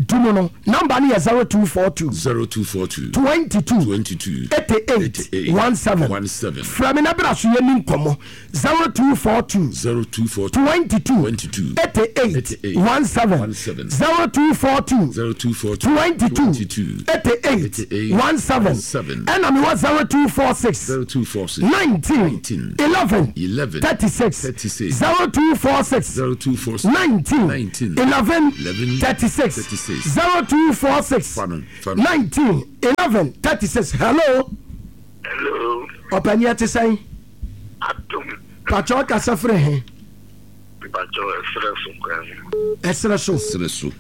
Dum no. Namba no yɛ 0242 0242 22 22 88 88 17. 17. Frɛ me na bra so yɛni nkɔmmɔ. 0242 0242 22 22 88 88 17 17 0242 0242 22 22 88 88 17 17 ɛna mewɔ 0246 0246 19 19 11 11 36 36 0246 0246 19 19 11 11 36 36 0246 Fa no, fa no. 19 11 36 hello Hello. ɔpani ɛte sɛn Adom. pakyɛ ɔkasa firi he Mpakyɛ ɛserɛ so kwan mu. ɛserɛ so Serɛ so.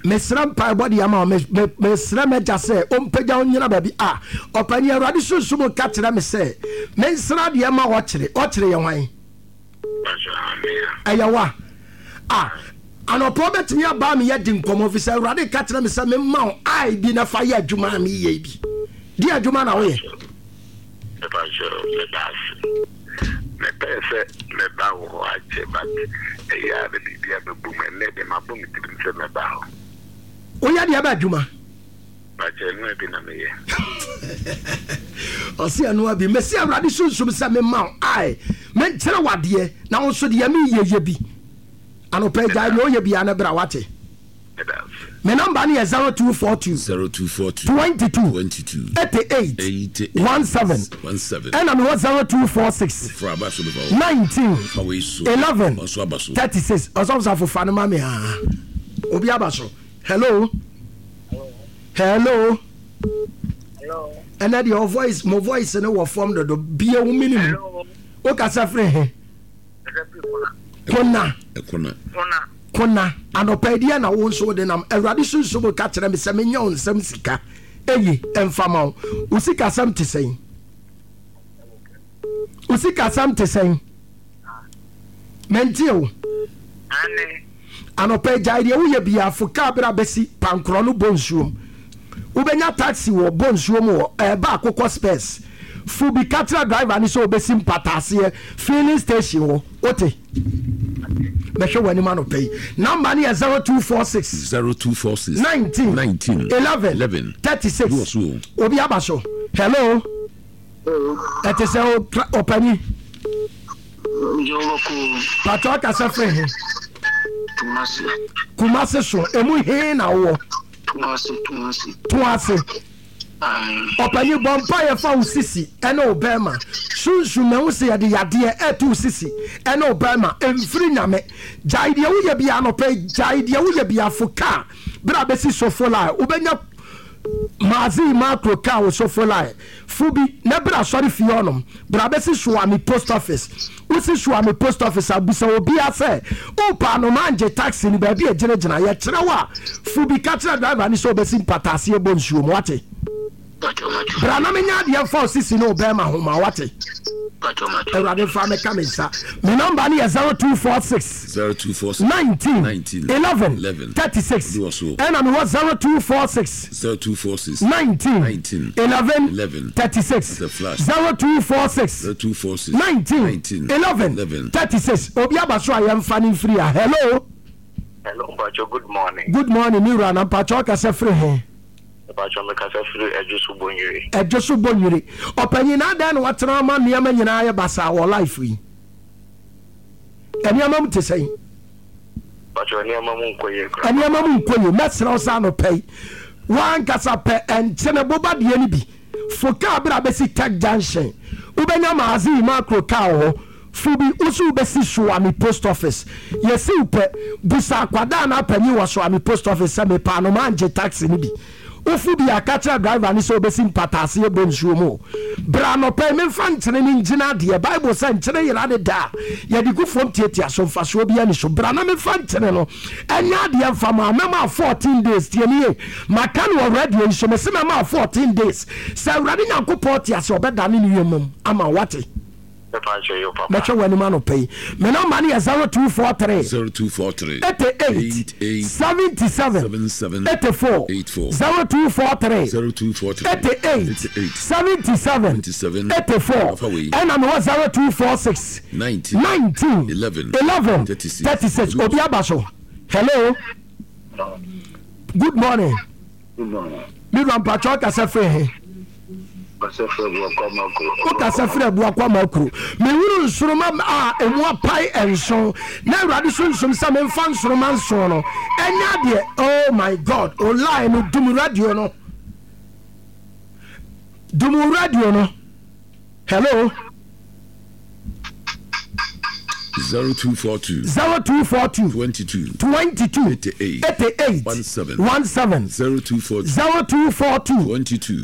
Mesrɛ mpaebɔ de ama wo. Me, me, mesrɛ m'agya sɛ ɔmpagya wo nnyina baabi a ɔpanin Awurade Sunsum ka kyerɛ me sɛ mensrɛ adeɛ ma ɔkyere. Ɔkyere yɛ hwan? Ɛyɛ wo a. A, anɔpa wobɛtumi aba me yɛadi nkɔmmɔ fi sɛ Awurade ka kyerɛ me sɛ memma wo I bi na fa yɛ adwuma a meyɛ bi. Deɛ adwuma na woyɛ? Mepakyɛw meda ase. Mepɛɛ sɛ mɛba wo hɔ akyɛ but ɛyɛ a na biribi abɛbɔ mu. Ɛnnɛ deɛ mabɔ me tirim sɛ mɛba hɔ. Woyɛ deɛ bɛ adwuma? Pakyɛ ɛnoa bi na meyɛ. Ɔse ɛnoa bi. Mesi Awurade sunsum sɛ mema wo ae menkyerɛ wo adeɛ na wo nso deɛ meyɛ yɛ bi. Anɔpa yi gyae deɛ woyɛ biara na bra wate. Me number no yɛ 0242 0242 22 22 88 88 17 17 ɛna mewɔ 0246 Fra aba so bɛba hɔ. 19 Fa wei so. 11 Ɔnso aba so. 36 ɔsɔfo safo fa no ma me aa obi aba so hello hello Hello. ɛnɛ deɛ ɔ voice mo voice no wɔ fam dodo bie wo mini mu wokasa firi he Kona. Kona. Kona. Anɔpa yi deɛ na wo nso wode nam. Awurade sunsum ka kyerɛ me sɛ menyɛ wo nsɛm sika. Eye, ɛmfa ma wo. Wo sikasɛm te sɛn? Wo sikasɛm te sɛn? Mente o. Anɔpa yi gyae deɛ woyɛ biara fo kaa berɛ a bɛsi pankorɔ no bɔ nsuom. Wobɛnya taxi wɔ bɔ nsuo mu hɔ ɛɛba akokɔ spurs fo bi ka kyerɛ driver no sɛ ɔbɛsi mpataaseɛ filling station hɔ wote mɛhwɛ w'anim anɔpa yi number no yɛ 0246 0246 19 19 11 11 36 Bi wɔ so o. Obi aba so hello ɛte sɛ ɔpani patɔ ɔkasa firi he Kumasi. Kumasi so emu he na wowɔ Toase, toase. Toase. Ɔpanyin bɔ mpaeɛ fa wo sisi ɛne wo bɛrima. Sunsum mahu sɛ yɛde yadeɛ ɛto wo sisi ɛne wo bɛrima. Ɛmfiri Nyame. Gyae deɛ woyɛ biara anɔpa yi. Gyae deɛ woyɛ biara. Fo kaa berɛ a bɛsi sofo line. Wobɛnya Maazii Makro kaa wo sofo line. Fo bi na bra asɔre fie hɔnom. Bra bɛsi Suame post office. Wosi Suame post office a, bisa obiara sɛ, Wopɛ anomaa ngye taxi no baabi a ɛgyinagyina? Yɛkyerɛ wo a, fo bi ka kyerɛ driver no sɛ ɔbɛsi mpataaseɛ bɔ nsuo mu. Woate? Bra na menyɛ adeɛ mfa wo sisi ne wo bɛrima ho ma wo. Woate? Awurade mfa mɛka me nsa. Me nɔmba no yɛ 0246 0246 19 19 11 11 36 Obi wɔ so. ɛna mewɔ 0246 0246 19 19 11 11 36 The flash. 0246 0246 19 19 11 11 36 obi aba so a yɛmfa no mfiri a hello Hello, Mpacho, good morning. Good morning, me wura na mpacho ɔkasa firi he? Mpacho, mekasa firi Adwo so Bonyere. Adwo so Bonyere. Ɔpanyin na adɛn na watena ama nneɛma nyinaa ayɛ basaa wɔ life yi? Nneɛma mu te sɛn? Mpacho, nneɛma mu nkɔ yie koraa. Nneɛma mu nkɔ yie. Mɛsrɛ wo sɛ anɔpa yi, w'ankasa pɛ nkyene boba deɛ no bi. Fo kaa berɛ a bɛsi Tech Junction. Wobɛnya Maazii Makro kaa wɔ hɔ. Fo bi, wo nso wobɛsi Suame Post Office. Yɛsi wo pɛ, busa akwadaa anaa panin wɔ Suame Post Office sɛ mepɛ anomaa ngye taxi no bi. Wofo bi a, ka kyerɛ driver no sɛ ɔbɛsi mpataase ɛbɔ nsuo mu o. Bra anɔpa yi memfa nkyene no ngyina adeɛ. Bible sɛ nkyene yera ne da a, yɛde gu fam tiatia so, mfasoɔ biara nni so. Bra na memfa nkyene no nyɛ adeɛ mfa ma wo. Mɛma wo 14 days. Tie me yie, maka no wɔ radio yi so, mese mɛma wo 14 days. Sɛ Awurade Nyankopɔn te ase a, ɔbɛdane ne wiem ama wo. Woate? Mɛhwɛ w'anim anɔpa yi. Me nɔmba no yɛ 0243 0243 88 88 77 77 84 84 0243 0243 88 88 77 77 84 Afa wei. ɛna mewɔ 0246 19 19 11 11 36 36. Obi aba so. Hello, good morning. Good morning. Me wura mpakyɛ ɔkasa firi he? Wokasa firi Abuakwa Makuro. Mehunu nsoroma a emu apae nson na Awurade sunsum sɛ memfa nsoroma nson no ɛnyɛ adeɛ. Oh my God, online no dum radio no. Dum radio no. Hello. 0242 0242 22 22 88 88 17 17 0242 0242 22